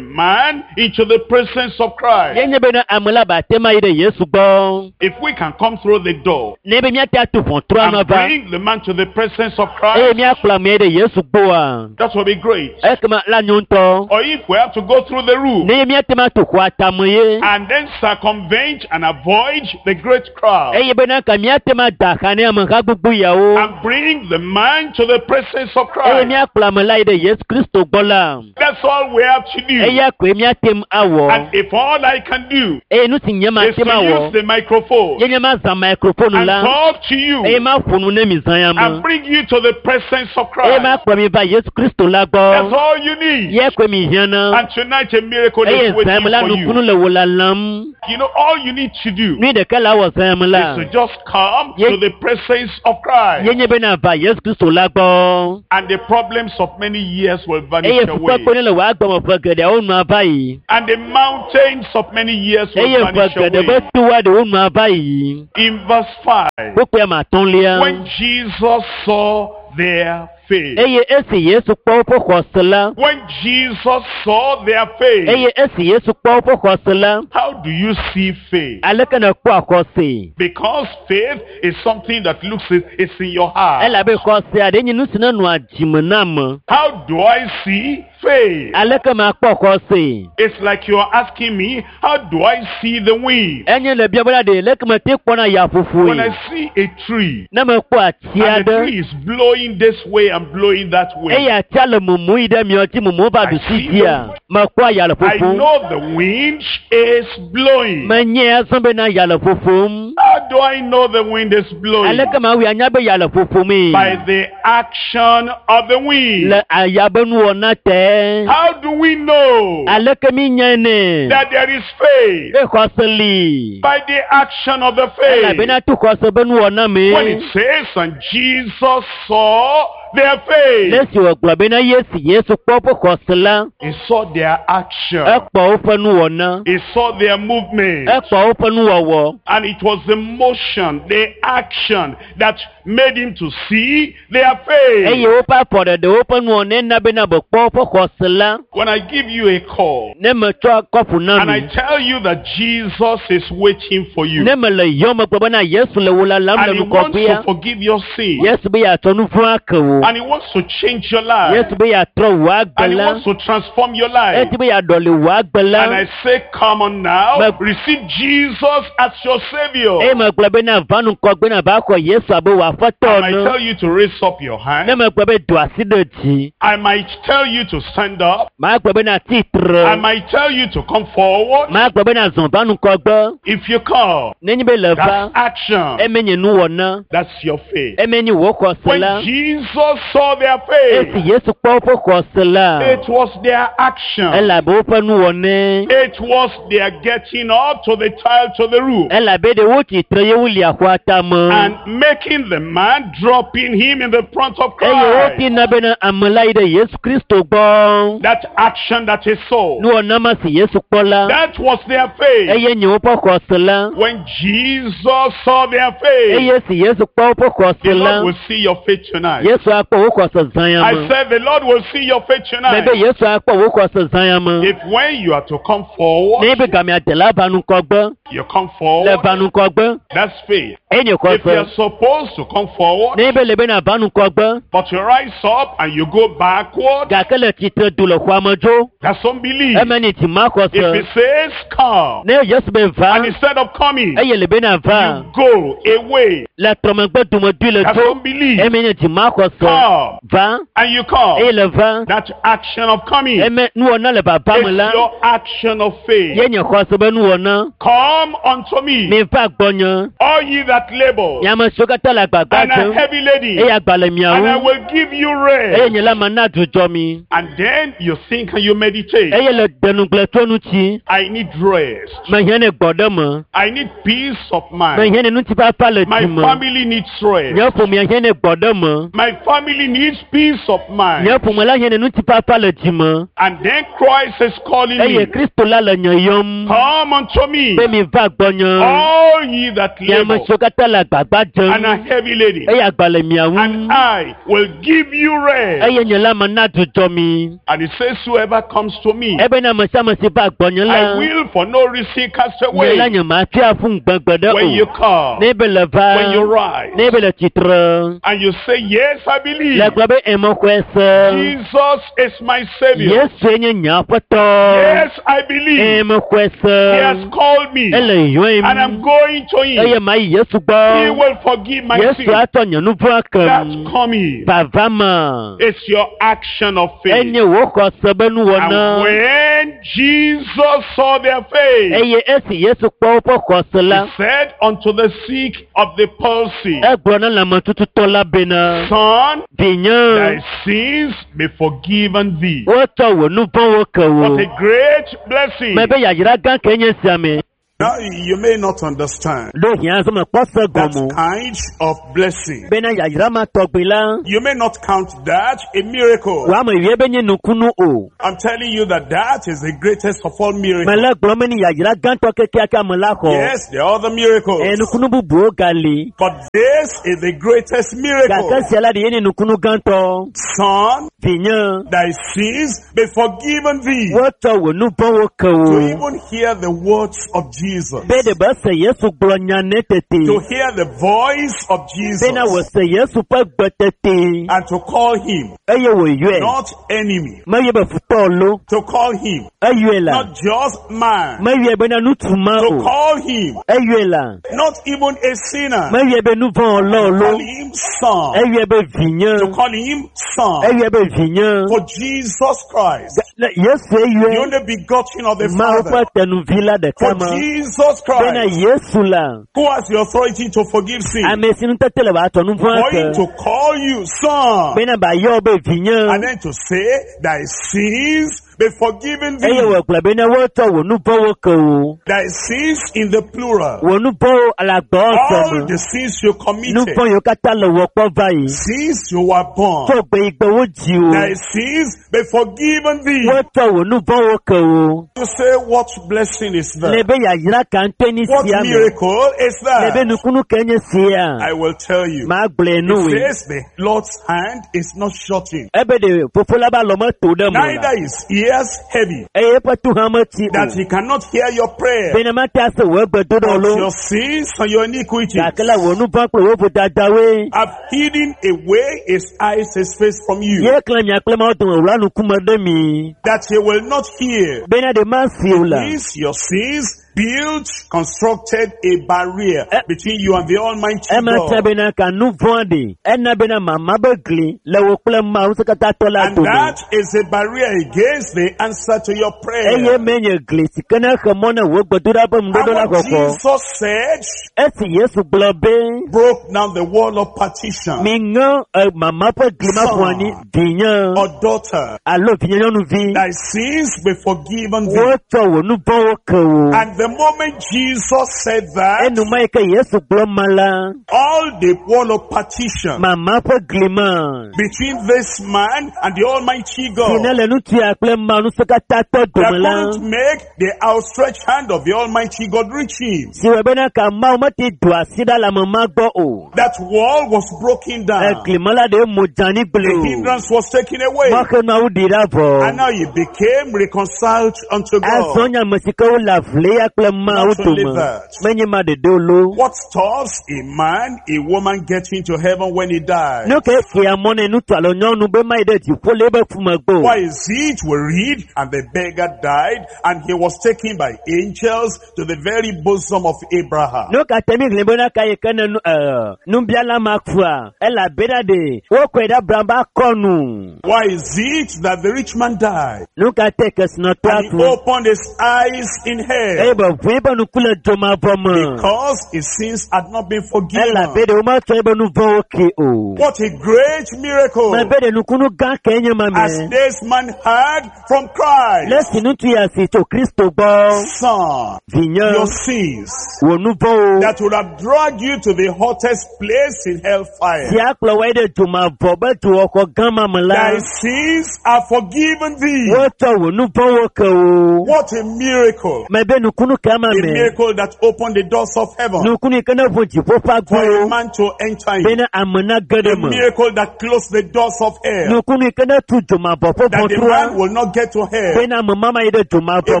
man into the presence of ye Christ. nye bena ame la ba te ma yi ɖe Yesu gbɔ. If we can come through the door, Ne be míate atu ʋɔtrua and nɔ va bring the man to the presence of eye Christ, míakplɔ amea ɖe Yesu gbɔa that will be great. ekema la nyo ŋutɔ. Or if we have to go through the roof Ne ye míate ma to xɔa tame ye and then circumvent and avoid the great crowd eye bena ka míate ma da xa ne ameha gbogbo yawo and bring the man to the presence of eye Christ. míakplɔ ame la yi ɖe Yesu Kristo gbɔ la That's all we have to do. eya koe míate ŋu awɔ And if all I can do eye nu si nye is mate to ma wɔ use the microphone ye nye ma zã microphone and la talk to you eye ma ƒo nu ne mi zã ya me and bring you to the presence of eye ma Christ, kplɔ mi va Yesu Kristo la that's gbɔ all you need. ye koe mi hiã na And tonight a miracle eye is zã waiting me la for nukunu you. le wò lalam You know, all you need to do nu ɖeka la wɔ zã me la is to just come to the presence of Christ. ye nye bena va Yesu Kristo la gbɔ And the problems of many years will eye vanish away. fukpekpe ne le wò agbeme ƒe geɖeawo nua va yi And the mountains of many years will eye ƒe vanish geɖe be away. toa ɖewo nua va yi In verse 5, kpukpui ame atɔ̃lia when Jesus saw their faith, eye esi Yesu kpɔ woƒe xɔse la when Jesus saw their faith, eye esi Yesu kpɔ woƒe xɔse la how do you see faith? aleke nèkpɔa xɔse Because faith is something that looks, it's in your heart. elabe xɔsea ɖe nye nu si nenɔa dzime na ame How do I see faith? aleke makpɔ xɔse It's like you are asking me, how do I see the wind? enye le bia bena ɖe leke mete kpɔna When I yaƒoƒoe see a tree, ne mekpɔ ati and the aɖe tree is blowing this way and blowing that way, eye atia le mumu yi ɖe miɔ dzi mumu va I ɖusi see dzia mekpɔa ya le I ƒoƒom know the wind is blowing. menye azɔ bena ya le ƒoƒom How do I know the wind is blowing? aleke mawui anya be ya le ƒoƒomee By the action of the wind. le aya be nuwɔna te How do we know aleke mi nyae nɛ that there is faith? be xɔse li By the action of the faith. elabena to xɔse be nuwɔna When mee it says, and Jesus saw their faith, le esi wògblɔ bena Yesu Yesu kpɔ woƒe xɔse la he saw their action, ekpɔ woƒe nuwɔna he saw their movement, ekpɔ woƒe nuwɔwɔ and it was the motion, the action that made him to see their faith. eye woƒe afɔɖeɖe woƒe nuwɔna na bena be kpɔ woƒe xɔse la When I give you a call ne metsɔ kɔpu na and I mi tell you that Jesus is waiting for you ne mele yɔ megblɔ bena Yesu le wò lalam le and he wants nukɔƒea to forgive your sin Yesu be yeatsɔ nu vɔ̃ ake wò and he wants to change your life Yesu be yeatrɔ wò agbe and he la wants to transform your life. eti be yeaɖɔli wò agbe la And I say, come on now, receive Jesus as your Savior. eye megblɔ bena va nukɔgbe na va xɔ Yesu abe wò aƒetɔ I might ene tell you to raise up your ne hand. megblɔ be do asi ɖe dzi I might tell you to stand up. magblɔ bena I tsitre might tell you to come forward. magblɔ bena zɔn va nukɔgbe If you come, nenye be le va that's action. eme nye nuwɔna That's your faith. eme nye wò xɔse When la Jesus saw their esi faith, Yesu kpɔ woƒe xɔse la it was their action. elabe woƒe nuwɔnae It was their getting up to the tile to the roof elabe ɖe wo tsitre ye woli axɔa tame and making the man, dropping him in the front of eye Christ. wotina bena ame la yi ɖe Yesu Kristo gbɔ That action that he saw, nuwɔna ma si Yesu kpɔ la that was their faith. eye nye woƒe xɔse la When Jesus saw their faith, eye si Yesu kpɔ woƒe xɔse the la Lord will see your faith tonight. Yesu akpɔ wò xɔse zã ya I me said the Lord will see your faith tonight. mebe Yesu akpɔ wò xɔse zã ya me If when you are to come forward, ne be gamea de la va nukɔgbe you come le forward, va nukɔgbe that's faith. eye nye If you are xɔse supposed to come forward, ne be le bena va nukɔgbe but you rise up and you go backward, gake le tsitre du le xɔa me dzo that's unbelief. eme nye dzima If xɔse he says come, ne Yesu be va and instead of coming, eye le bena va you go away, le trɔmegbe domedui le that's dzo unbelief. eme nye dzima xɔse Come, va and you come. eye le va That action of coming eme nuwɔna le vava me is la your action of faith. ye nye xɔse be nuwɔna Come unto me, mi va gbɔnye all ye that labor nye ame siwo katã le agbagba and are dzem heavy laden, eye agba le and I miawo will give you eye rest. nye la mana dzudzɔ mi And then you think and you meditate. eye le denugble tso ŋuti I need rest. mehiã ne gbɔ ɖe me I need peace of mind. mehiã ne ŋutifafa le My dzi me family needs rest. nye ƒomea hiã ne gbɔ ɖe me My family needs peace of mind. nye ƒome la hiã ne ŋutifafa le dzi me And then Christ is calling eye me. Kristo la le nye yɔm Come unto me, be mi va gbɔnye all ye that nye ame labor siwo katã le agbagba and dzem are heavy heavy laden, Eye agba le mia ŋu. and I will give you rest. Eye nye la mana dzudzɔ mi. And it says, whoever comes to me, Ebena ame sia ame si va gbɔnye I la, will for no reason cast nye la away. nye ma tsɔe aƒu ŋgbegbe ɖe When you o. come, Ne be le va, when you rise, ne be le tsitre, and you say, yes, I believe. le gblɔ be emexɔe se. Jesus is my Savior. Yesue nye nye aƒetɔ. Yes, I believe. Emexɔe He has se. called me, Ele yɔem. and I'm going to Eye him. mayi Yesu He gbɔ. will forgive my Yesu sin. atsɔ nye nu vɔ̃ That's kem. coming. Vava me. It's your action of faith. Enye wò xɔse be And nuwɔna. when Jesus saw their faith, Eye esi Yesu kpɔ woƒe xɔse la, he said unto the sick of the palsy, egblɔ na lãmetututɔ la bena, Son, vinye, thy sins be forgiven thee. wotsɔ wò nu vɔ̃wo ke wò. What a great blessing. Mebe yayra gã ke nye sia me. Now, you may not understand Ɖo hiã zɔ mekpɔ se that gɔme o. kind of blessing. Bena yayra ma tɔgbi la, You may not count that a miracle. wò ame yue be nye nukunu o. I'm telling you that that is the greatest of all miracles. Mele gblɔm be ni yayra gãtɔ kekeake ame la xɔ. Yes, there are other miracles. Ɛ nukunu bubuwo gali. But this is the greatest miracle. Gake sia la ɖe ye nye nukunu gãtɔ. Son, Vinye, thy sins be forgiven thee. wotsɔ wò nu vɔ̃wo ke To wò. even hear the words of Jesus. Be ɖe be se Yesu gblɔ nya ne tete. To hear the voice of Jesus. Bena wòse Yesu ƒe gbe tete. And to call him Eye wòyɔe. not enemy. Meyɔe be futɔ lo. To call him Eyɔe la. not just man. Meyɔe bena ŋutsu ma To o. call him Eyɔe la. not even a sinner. Meyɔe be nu vɔ̃ lɔ To lo. call him son. Eyɔe be To vinye. call him son. Eyɔe be vinye. For Jesus Christ, Le Yesu the eyɔe. only begotten of the Mawu ƒe Father. tenuvi la For ɖeka ma. Jesus Bena Christ, Yesu la. who has the authority to forgive sin, Ame si nutete le wòatsɔ nu vɔ̃ for him ake. to call you son, Bena bayɔ be vinye. and then to say, thy sins be forgiven Eye thee. wògblɔ bena wotsɔ wò nu vɔ̃wo ke wò. Thy sins in the plural. Wò nu vɔ̃wo le agbɔ All me. the sins you Nu committed vɔ̃ yiwo katã le wò kpɔ va yi. since you were born. Tso gbe yi gbe wodzi wò. Thy sins be forgiven thee. Wotsɔ wò nu vɔ̃wo ke wò. You say, what blessing is Le that? be yayra ka ŋutɔe nye What sia me. miracle is Le be that? nukunu ke nye sia. I will tell you. Ma gblɔe nu It wòe. says the Lord's hand is not shortened, Ebe ɖe fofo la be alɔ meto ɖe me o la. neither his ears heavy, Eye eƒe tu hã metsi that o. he cannot hear your prayer. Bena mate ase wò egbedoɖɔ But lo. your sins and your iniquities Gake la wò nu vɔ̃ kple wò vodadawoe. have hidden away his eyes, his face from you, Ye klẽ mia kple Mawu dome wòwla nukume ɖe mi. that he will not hear. Bena ɖe masi o la. These your sins built, constructed a barrier Eh. between you and the Almighty Ema tia God. bena ka nu vɔ̃ ɖi. Ena bena mama be gli le wò kple Mawu ŋusẽkatãtɔ la And dome. that is a barrier against the answer to your prayer. Eye menye gli si ke ne xe mɔ ne wò gbedoɖa ƒe And ŋuɖoɖo la what xɔxɔ. Jesus said Esi Yesu gblɔ be broke down the wall of partition mi ŋe e, mama ƒe gli ma ƒo anyi vinye or daughter, alo vinye nyɔnuvi. thy sins be forgiven thee. Wotsɔ wò nu vɔ̃wo ke wò. And the moment Jesus said that, Enuma yi ke Yesu gblɔ ma la, all the wall of partition mama ƒe gli ma between this man and the Almighty si ne God le ŋutsua kple Mawu ŋusẽkatãtɔ that dome la, couldn't make the outstretched hand of the Almighty God reach him. si wɔ bena ka Mawu mete do asi ɖa le ame ma gbɔ o. That wall was broken down. Egli ma la ɖe mo dzani gblẽ The o. hindrance was taken away. Mɔxenuawo ɖi ɖa vɔ. And now he became reconciled unto Azɔ God. nye ame si ke wole avle ya kple Mawu Not only dome. that. Menye ma ɖeɖe o lo. What stops a man, a woman getting to heaven when he dies? Nu ke xea mɔ ne ŋutsu alo nyɔnu be mayi ɖe dziƒo le eƒe fu megbe o. Why is it we read, and the beggar died, and he was taken by angels to the very bosom of Abraham? Nu ka te mi xlẽ bena ka yi ke ne nu ɛ nubiala ma kua elabena ɖe wokɔe ɖe Abraham be akɔnu. Why is it that the rich man died? Nu ka te kesinɔtɔa And ku he opened his eyes in eye hell be ʋu eƒe ŋku le dzomavɔ me because his sins had not been forgiven. elabe ɖe wometsɔ eƒe nu vɔ̃wo ke o. What a great miracle! Mebe ɖe nukunu gã ke nye ma As me. this man heard from Christ, Le si ŋutsu ya si tso Kristo gbɔ son, vinye your sins wò nu vɔ̃wo that would have dragged you to the hottest place in hellfire. si akplɔ wɔ ɖe dzomavɔ be dzowɔxɔ gã ma me la Thy sins are forgiven thee. wotsɔ wò nu vɔ̃wo ke wò. What a miracle. Mebe nukunu ke ma A me. miracle that opened the doors of heaven Nukunu yi ke ne ʋu dziƒo ƒe for a agbowo. the man to enter in. Bena ame na ge ɖe A me. miracle that closed the doors of hell. Nukunu yi ke ne tu dzomavɔ ƒe That the ʋɔtrua. man will not get to hell. Bena ame ma ma yi ɖe A dzomavɔ me o.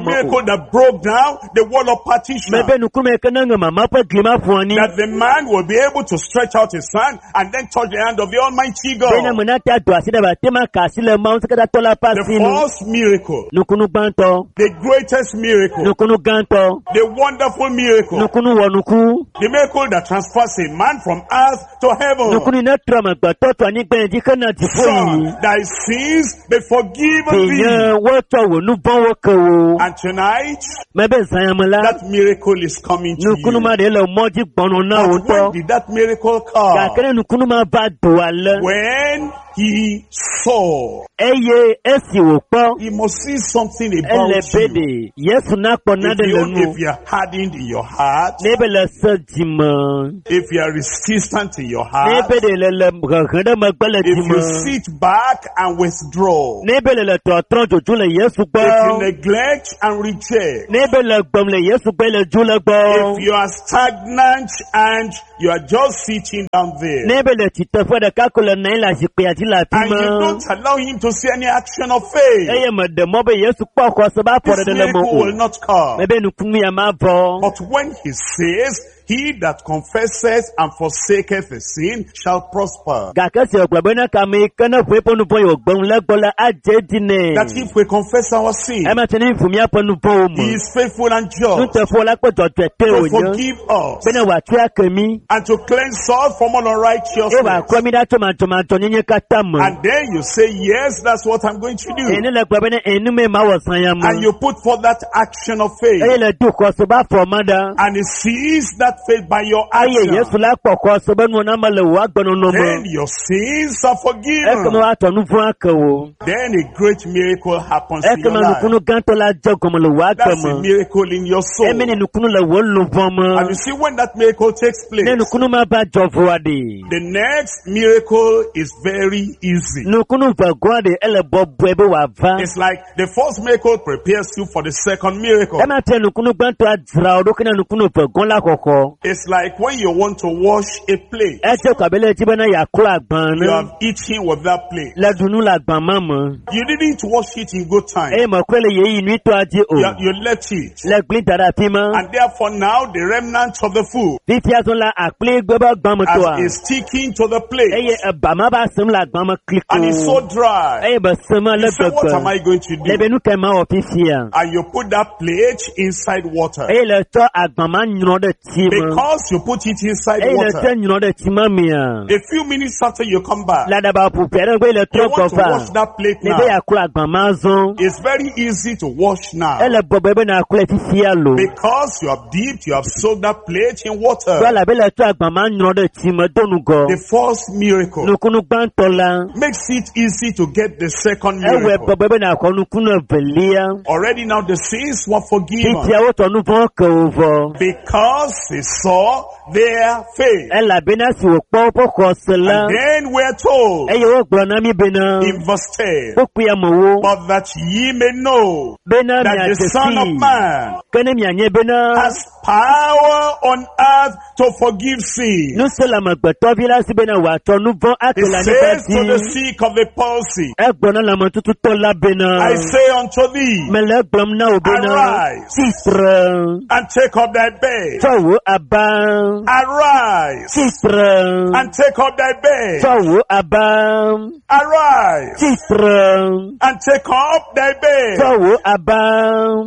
miracle that broke down the wall of partition. Mebe nukunu yi ke ne ŋe mama ƒe gli ma ƒo anyi. That the man will be able to stretch out his hand and then touch the hand of the Almighty Bena God. ame nate ado asi ɖe ba te ma ka asi le Mawu ŋusẽkatãtɔ la ƒe The asi nu. first miracle, Nukunu gbãtɔ. the greatest miracle, Nukunu gãtɔ. the wonderful miracle, Nukunu wɔnuku. the miracle that transfers a man from earth to heaven. Nukunu yi ne trɔ amegbetɔ tso anyigba yi dzi hena dziƒo Son, yiyi. thy sins be forgiven Vinye thee. wotsɔ wò nu vɔ̃wo ke wò. And tonight, Mebe zãyame la, that miracle is coming to nukunu you. ma ɖe le mɔ dzi gbɔnɔ na wò But when ŋutɔ. did that miracle come? Gake ne nukunu ma va do ale, When he saw, eye esi wòkpɔ, he must see something ele about be you. ɖe Yesu nakpɔ If nane le you, nu. if you are hardened in your heart, Ne be le se dzime, if you are resistant in your ne heart, be ɖe le le hehe ɖe megbe le if you dzime, sit back and withdraw, ne be le le trɔtrɔ dzodzo le Yesu if you gbɔ, neglect and reject, ne be le gbem le Yesu gbɔ le dzo le gbɔ, if you are stagnant and you are just sitting down there, ne be le tsiteƒe ɖeka ko le nɔ anyi le zikpuia dzi le afi and you ma. don't allow him to see any action of faith, Eye meɖe mɔ be Yesu kpɔ xɔse be this afɔɖeɖe le me miracle o. will not come. Mebe nukunu ya ma vɔ. But when he says, he that confesses and forsaketh his sin shall prosper. Gake si wògblɔ bena kame yi ke ne ʋu eƒe nu vɔ̃ yi wògbe ŋu le gbɔ la adze edzi nɛ. That if we confess our sin, Ema tse ne mi ʋu míaƒe nu vɔ̃wo he me. is faithful and just Nuteƒewɔla la kple dzɔdzɔetɔe to wònye forgive us bena wòatsɔe ake mí and to cleanse us from all eye unrighteousness. wòaklɔ mí ɖa tso madzɔmadzɔnyenye katã me. And then you say, yes, that's what I'm going to Eye do. ne le gblɔ bena enu mee mawɔ zã ya And me. you put forth that action of Eye faith. le do xɔse be afɔ ma ɖa. And he sees that faith by your Eye Yesu action. la kpɔ xɔse be nuwɔna me le wò agbenɔnɔ Then me. your sins are Ekema forgiven. woatsɔ nu vɔ̃ ake wò. Then a great miracle happens in your Ekema life. nukunu gãtɔ la dze gɔme le wò agbe That's a me. miracle in your soul. Eme ne nukunu le wò luʋɔ And me. you see, when that miracle takes place, Ne nukunu ma va dzɔ vɔa ɖe. the next miracle is very easy. Nukunu vegɔa ɖe ele bɔbɔe be wòava. It's like the first miracle prepares you for the second miracle. Ema fia nukunu gbãtɔa dzra wò ɖokui na nukunu vegɔa la xɔxɔ. It's like when you want to wash a plate, Edze ko abe le edzi bena yeaklɔ agbã you ne. have eaten with that plate. Le ɖu nu le agbã ma me. You didn't wash it in good time. Eye meklɔe le ɣeyiɣi nyuitɔa dzi o. You left it. Le gli da ɖe afi ma. And therefore now the remnants of the food Fifia zɔ la akpli gbe be agbã me as tɔa. is sticking to the plate Eye eba ma va sem le agbã me kliko. and it's so dry. Eye be sem ale You say, what am gbegbe. I going to Le do? be nu ke ma wɔ fifia. And you put that plate inside water. Eye le tsɔ agbã ma nyrɔ ɖe tsi me. Because you put it inside Eye le water. tsɔ nyrɔ ɖe tsi ma mea. A few minutes after you come back, Le aɖaba ƒoƒe aɖe megbe le you trɔ want gbɔ to wash va. that plate Ne be now. yeaklɔ agbã ma zɔ. It's very easy to wash now. Ele bɔbɔe be nàklɔe fifia lo. Because you have dipped, you have soaked that plate in Tɔ water. elabe le tsɔ agbã ma nyrɔ ɖe tsi me do nugɔ. The first miracle Nukunu gbãtɔ la. makes it easy to get the second Ewɔe miracle. bɔbɔe be nàxɔ nukunu evelia. Already now the sins were forgiven Fifia wotɔ nu vɔ̃ ke wo vɔ. because he saw their faith. Elabena si wòkpɔ woƒe xɔse la, And then we're told eye wogblɔ na mí bena in verse 10, kpukpui amewo but that ye may know bena that the miadze Son of sii Man ke ne mianye bena has power on earth to forgive sin. ŋusẽ le amegbetɔvi la si bena wòatsɔ nu vɔ̃ He ake le anyigba says to the dzi. sick of the palsy, Egblɔ na lãmetututɔ la bena I say unto thee, mele egblɔm na wò bena Arise. tsitre and take up thy bed. tsɔ wò aba Arise tsitre and take up thy bed. tsɔ wò aba Arise tsitre and take up thy bed. tsɔ wò aba.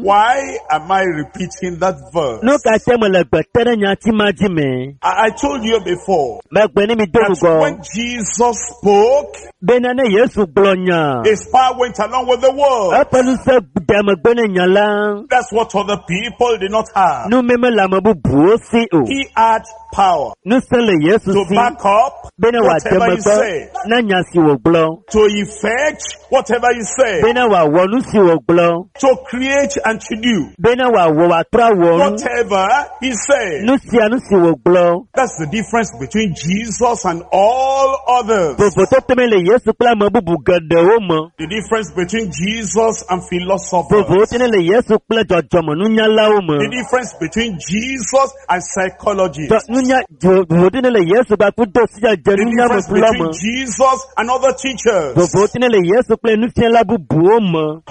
Why am I repeating that verse? Nu ka te mele gbe te ɖe nyati ma dzi me? I told you before Megbe ne mi do that ŋgɔ when Jesus spoke, bena ne Yesu gblɔ nya, his power went along with the word. eƒe ŋusẽ de megbe ne nya la. That's what other people did not have. Nu mi mele ame bubuwo si o. He had power Ŋusẽ le Yesu to si back up bena wòade whatever he megbe said, na nya si wògblɔ, to effect whatever he said, bena wòawɔ nu si wògblɔ, to create and to do bena wòawɔ wòatrɔ awɔ nu, whatever he said. nu sia nu si wògblɔ. That's the difference between Jesus and all others. Vovototo me le Yesu kple ame bubu geɖewo me. The difference between Jesus and Vovowo philosophers. tene le Yesu kple dzɔdzɔmenunyalawo me. The difference between Jesus and psychologists. Dzɔ- Nunya vovowo tene le Yesu kpakple do sidzedze The nunya me difference kplɔ between me. Jesus and other teachers. Vovowo tene le Yesu kple nufiala bubuwo me.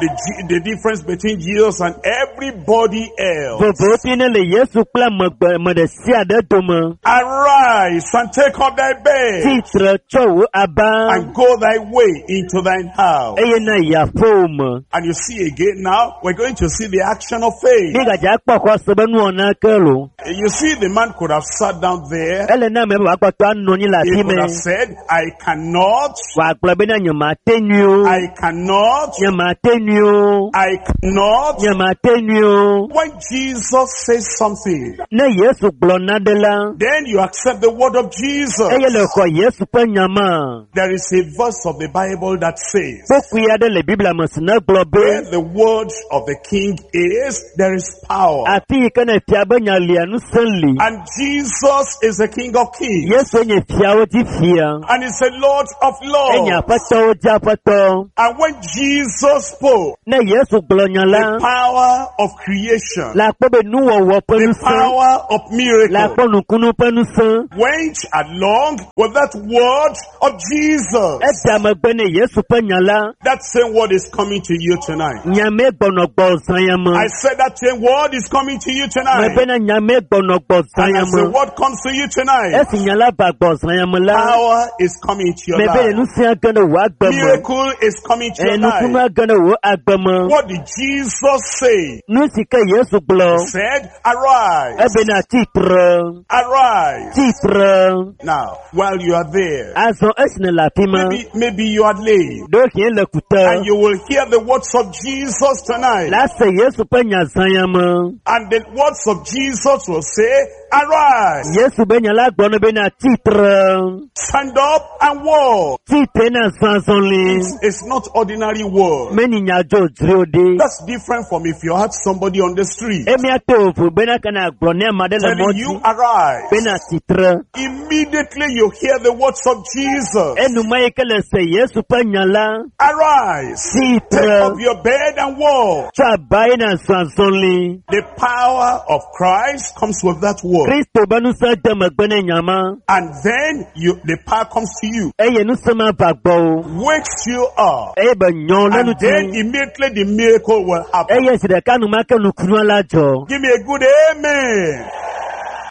The difference between Jesus and everybody else. Vovowo tene le Yesu kple ame gbe ame ɖe sia ɖe dome. Arise and take up thy bed Tsitre tsɔ wò aba and go thy way into thine house. eye na yi aƒewò me. And you see again now, we're going to see the action of faith. Mígadze akpɔ xɔse be nuwɔna ke lo. You see, the man could have sat down there. Ele na ame be wòakpɔtɔ anɔ anyi le He afi could me. have said, I cannot, Wòagblɔ bena nyemate nyui o. I cannot, Nyemate nyui o. I cannot. Nyemate nyui o. When Jesus says something, Ne Yesu gblɔ naɖe la, then you accept the word of Jesus. eye le xɔ Yesu ƒe nya ma. There is a verse of the Bible that says, Kpukpui aɖe le Biblia me si ne gblɔ be where the word of the king is, there is power. afi yi ke ne fia be nya lia ŋusẽ li. And Jesus is the King of kings. Yesu nye fiawo dzi fia. And he's the Lord of Enye lords. aƒetɔwo dzi aƒetɔ. And when Jesus spoke, Ne Yesu gblɔ nya the la, power of creation, le akpɔ be nuwɔwɔ ƒe the ŋusẽ, power of le miracle akpɔ nukunu ƒe ŋusẽ. went along with that word of Jesus. Eda megbe ne Yesu ƒe nya la, That same word is coming to you tonight. nyame gbɔnɔ gbɔ zã ya me. I said that same word is coming to you tonight. Mebe na nyame gbɔnɔ gbɔ zã And ya as the me. word comes to you tonight, Esi nya la va gbɔ zã ya me la, power is coming to your mebe ne life. ŋusẽ age ɖe wò agbe me. Miracle is coming to your Nukunu life. age ɖe wò agbe me. What did Jesus say? Nu si ke Yesu gblɔ, He said, arise, ebena tsitre, arise. tsitre. Now, while you are there, Azɔ esi ne le afi ma, maybe you are late ɖewohĩ le kute. and you will hear the words of Jesus tonight. La se Yesu ƒe nya zã ya me. And the words of Jesus will say, arise, Yesu be nya la gblɔ ne bena tsitre, stand up and walk. tsitre na zã zɔli. It's not ordinary word. Meni nya dzodzro ɖi. That's different from if you had somebody on the street Emia to vo bena kana gblɔ ne ame aɖe le telling mɔ you, dzi arise. bena tsitre. Immediately you hear the words of Jesus. Enuma yi ke le se Yesu ƒe nya la, Arise, take tsitre, up your bed and walk. tsɔ aba yi na zã zɔli. The power of Christ comes with that word. Kristo be ŋusẽ de megbe ne nya ma And then the power comes to you, eye ŋusẽ ma va gbɔwò wakes you up. eye be nyɔ le And ŋuti then immediately the miracle will happen. eye zi ɖeka enumake nukunua la dzɔ. Give me a good amen.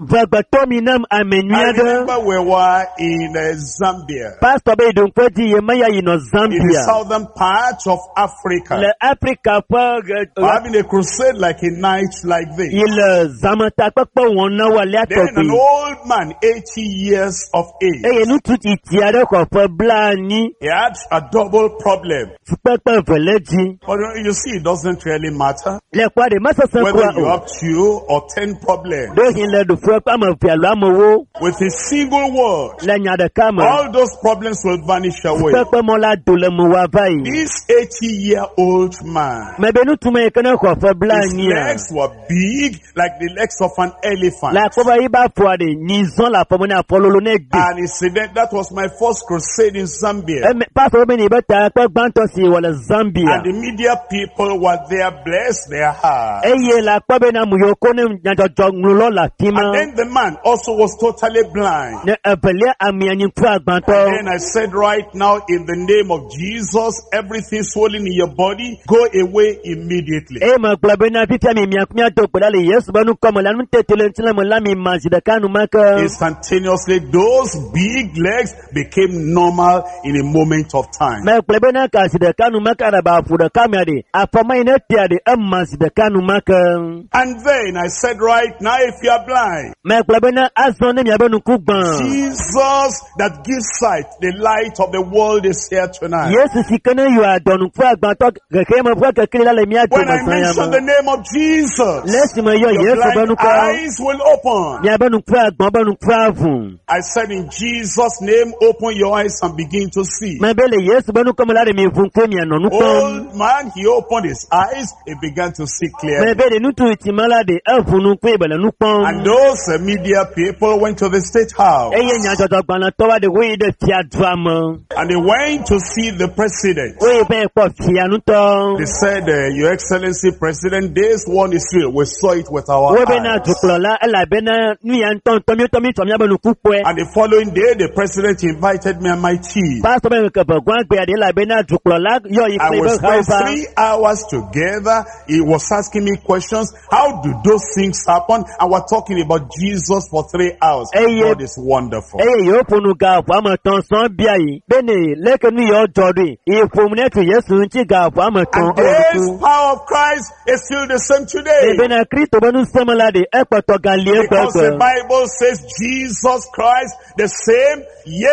Vegbetɔ mi nam ame nyui I aɖe. remember we were in Zambia, Pastor be yi ɖoŋkpe dzi ye meya yi nɔ in the Zambia southern part of Africa. le Afrika ƒe ɣe- We're having a crusade like a night like this. yi le zãmetakpekpe wɔm na wo alea Then an tɔgbi. old man, 80 years of age, Eye ŋutsu tsitsi aɖe xɔ ƒe 90 he had a double problem. fukpekpe eve le dzi. But you see, it doesn't really matter Le kpɔa ɖe mesesẽ whether kura you o. have 2 or 10 problems. Ɖewohĩ le ɖoƒe ƒe ame eve alo amewo With a single word, le nya ɖeka me. all those problems will vanish away. Fukpekpe mɔ la do le me wòava yi. This 80-year-old man, Mebe ŋutsu me yi ke ne xɔ ƒe his 90 legs were big like the legs of an elephant. le akpɔ be yibe afɔa ɖe nyi zɔ le afɔ me ne afɔ lolo ne gbe. And incident, that was my first crusade in Zambia. Eme pastor be ne yibe takpe gbãtɔ si wɔ le Zambia. And the media people were there, bless their heart. Eye le akpɔ bena ame yiwo ko ne nyadzɔdzɔ ŋlɔ le afi ma. And then the man also was totally blind. Ne evelia amea nyi ŋku agbãtɔ. And then I said right now, in the name of Jesus, everything swollen in your body, go away immediately. Eye megblɔ bena fifia mi mia miado gbe ɖa le Yesu be ŋkɔ me la nutete le ŋutilã me la mi ma zi ɖeka enumake. Instantaneously, those big legs became normal in a moment of time. Megblɔ bena ka zi ɖeka enumake aɖaba aƒu ɖeka mea ɖe afɔma yi ne tea ɖe ema zi ɖeka enumake. And then I said right now, if you are blind, Megblɔ bena azɔ ne miabe ŋku gbã. Jesus that gives sight, the light of the world is here tonight. Yesu si ke ne yɔ adɔnuku agbãtɔ xexeame ƒe kekeli la le mía When dome I zã ya mention me. the name of Jesus, Le esime yɔ your Yesu be blind ŋkɔ, eyes will open. miabe ŋku agbã be ŋku aʋu. I said in Jesus' name, open your eyes and begin to see. Mebe le Yesu be ŋkɔ me la ɖe mi ʋu ŋku mianɔ nu kpɔm. Old man, he opened his eyes, he began to see clearly. Mebe ɖe ŋutsu tsi me la ɖe eʋu ŋku ye be le nu And kpɔm. those media people went to the state house. Eye nyadzɔdzɔgbalẽtɔ wa ɖe woyi ɖe fiadua me. And they went to see the president. Woyi be kpɔ fia ŋutɔ. They said, Your Excellency President, this one is real. We saw it with our Wobena eyes. dukplɔla elabena nu ya ŋutɔŋutɔ míetɔ míetsɔ míabe nuku kpɔe. And the following day, the president invited me and my team. Pastor be ŋkeke gɔa gbea ɖe elabena dukplɔla yɔ yi And kple we eƒe spent hawo va. 3 hours together. He was asking me questions. How do those things happen? And we're talking about Jesus for 3 hours. Eye- God is wonderful. Eye yewo ƒo nu ga ƒo ame etɔ̃ sɔŋ bia yi bene leke nu yawo dzɔ ɖoe. Yi ƒom ne tu Yesu ŋuti ga ƒo ame etɔ̃ And ewɔ this nuku. power of Christ is still the same today. Ebena Kristo be nusẽme la ɖe ekpɔtɔ galie Because the gbegbe. Bible says Jesus Christ the same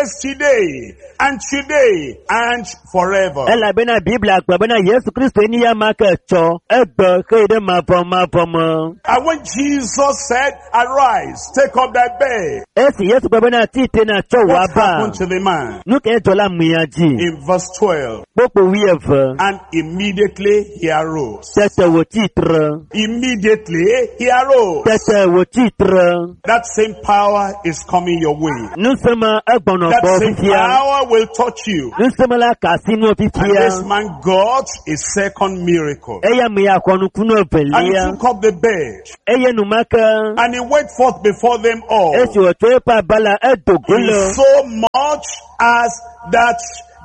yesterday and today and forever. Elabena Biblia gblɔ bena Yesu Kristo ni ya ma ke tsɔ egbe xëyi ɖe mavɔmavɔ me. And when Jesus said, arise, take up thy bed, Esi Yesu gblɔ bena tite na tsɔ wò what aba. happened to the man? Nu ke dzɔ le amea dzi. In verse 12, Kpokpo wuieve. and immediately he arose. Tete wòtsi tre. Immediately he arose. Tete wòtsi tre. That same power is coming your way. Nusẽme egbɔnɔ That gbɔ same fifia. power will touch you. Nusẽme la ka asi nuwo And this fifia. man got a second miracle. Eya ame ya xɔ nukunu And he evelia. took up the bed Eye enumake and he went forth before them all. esi wòtsɔ eƒe aba la edo go In le. so much as that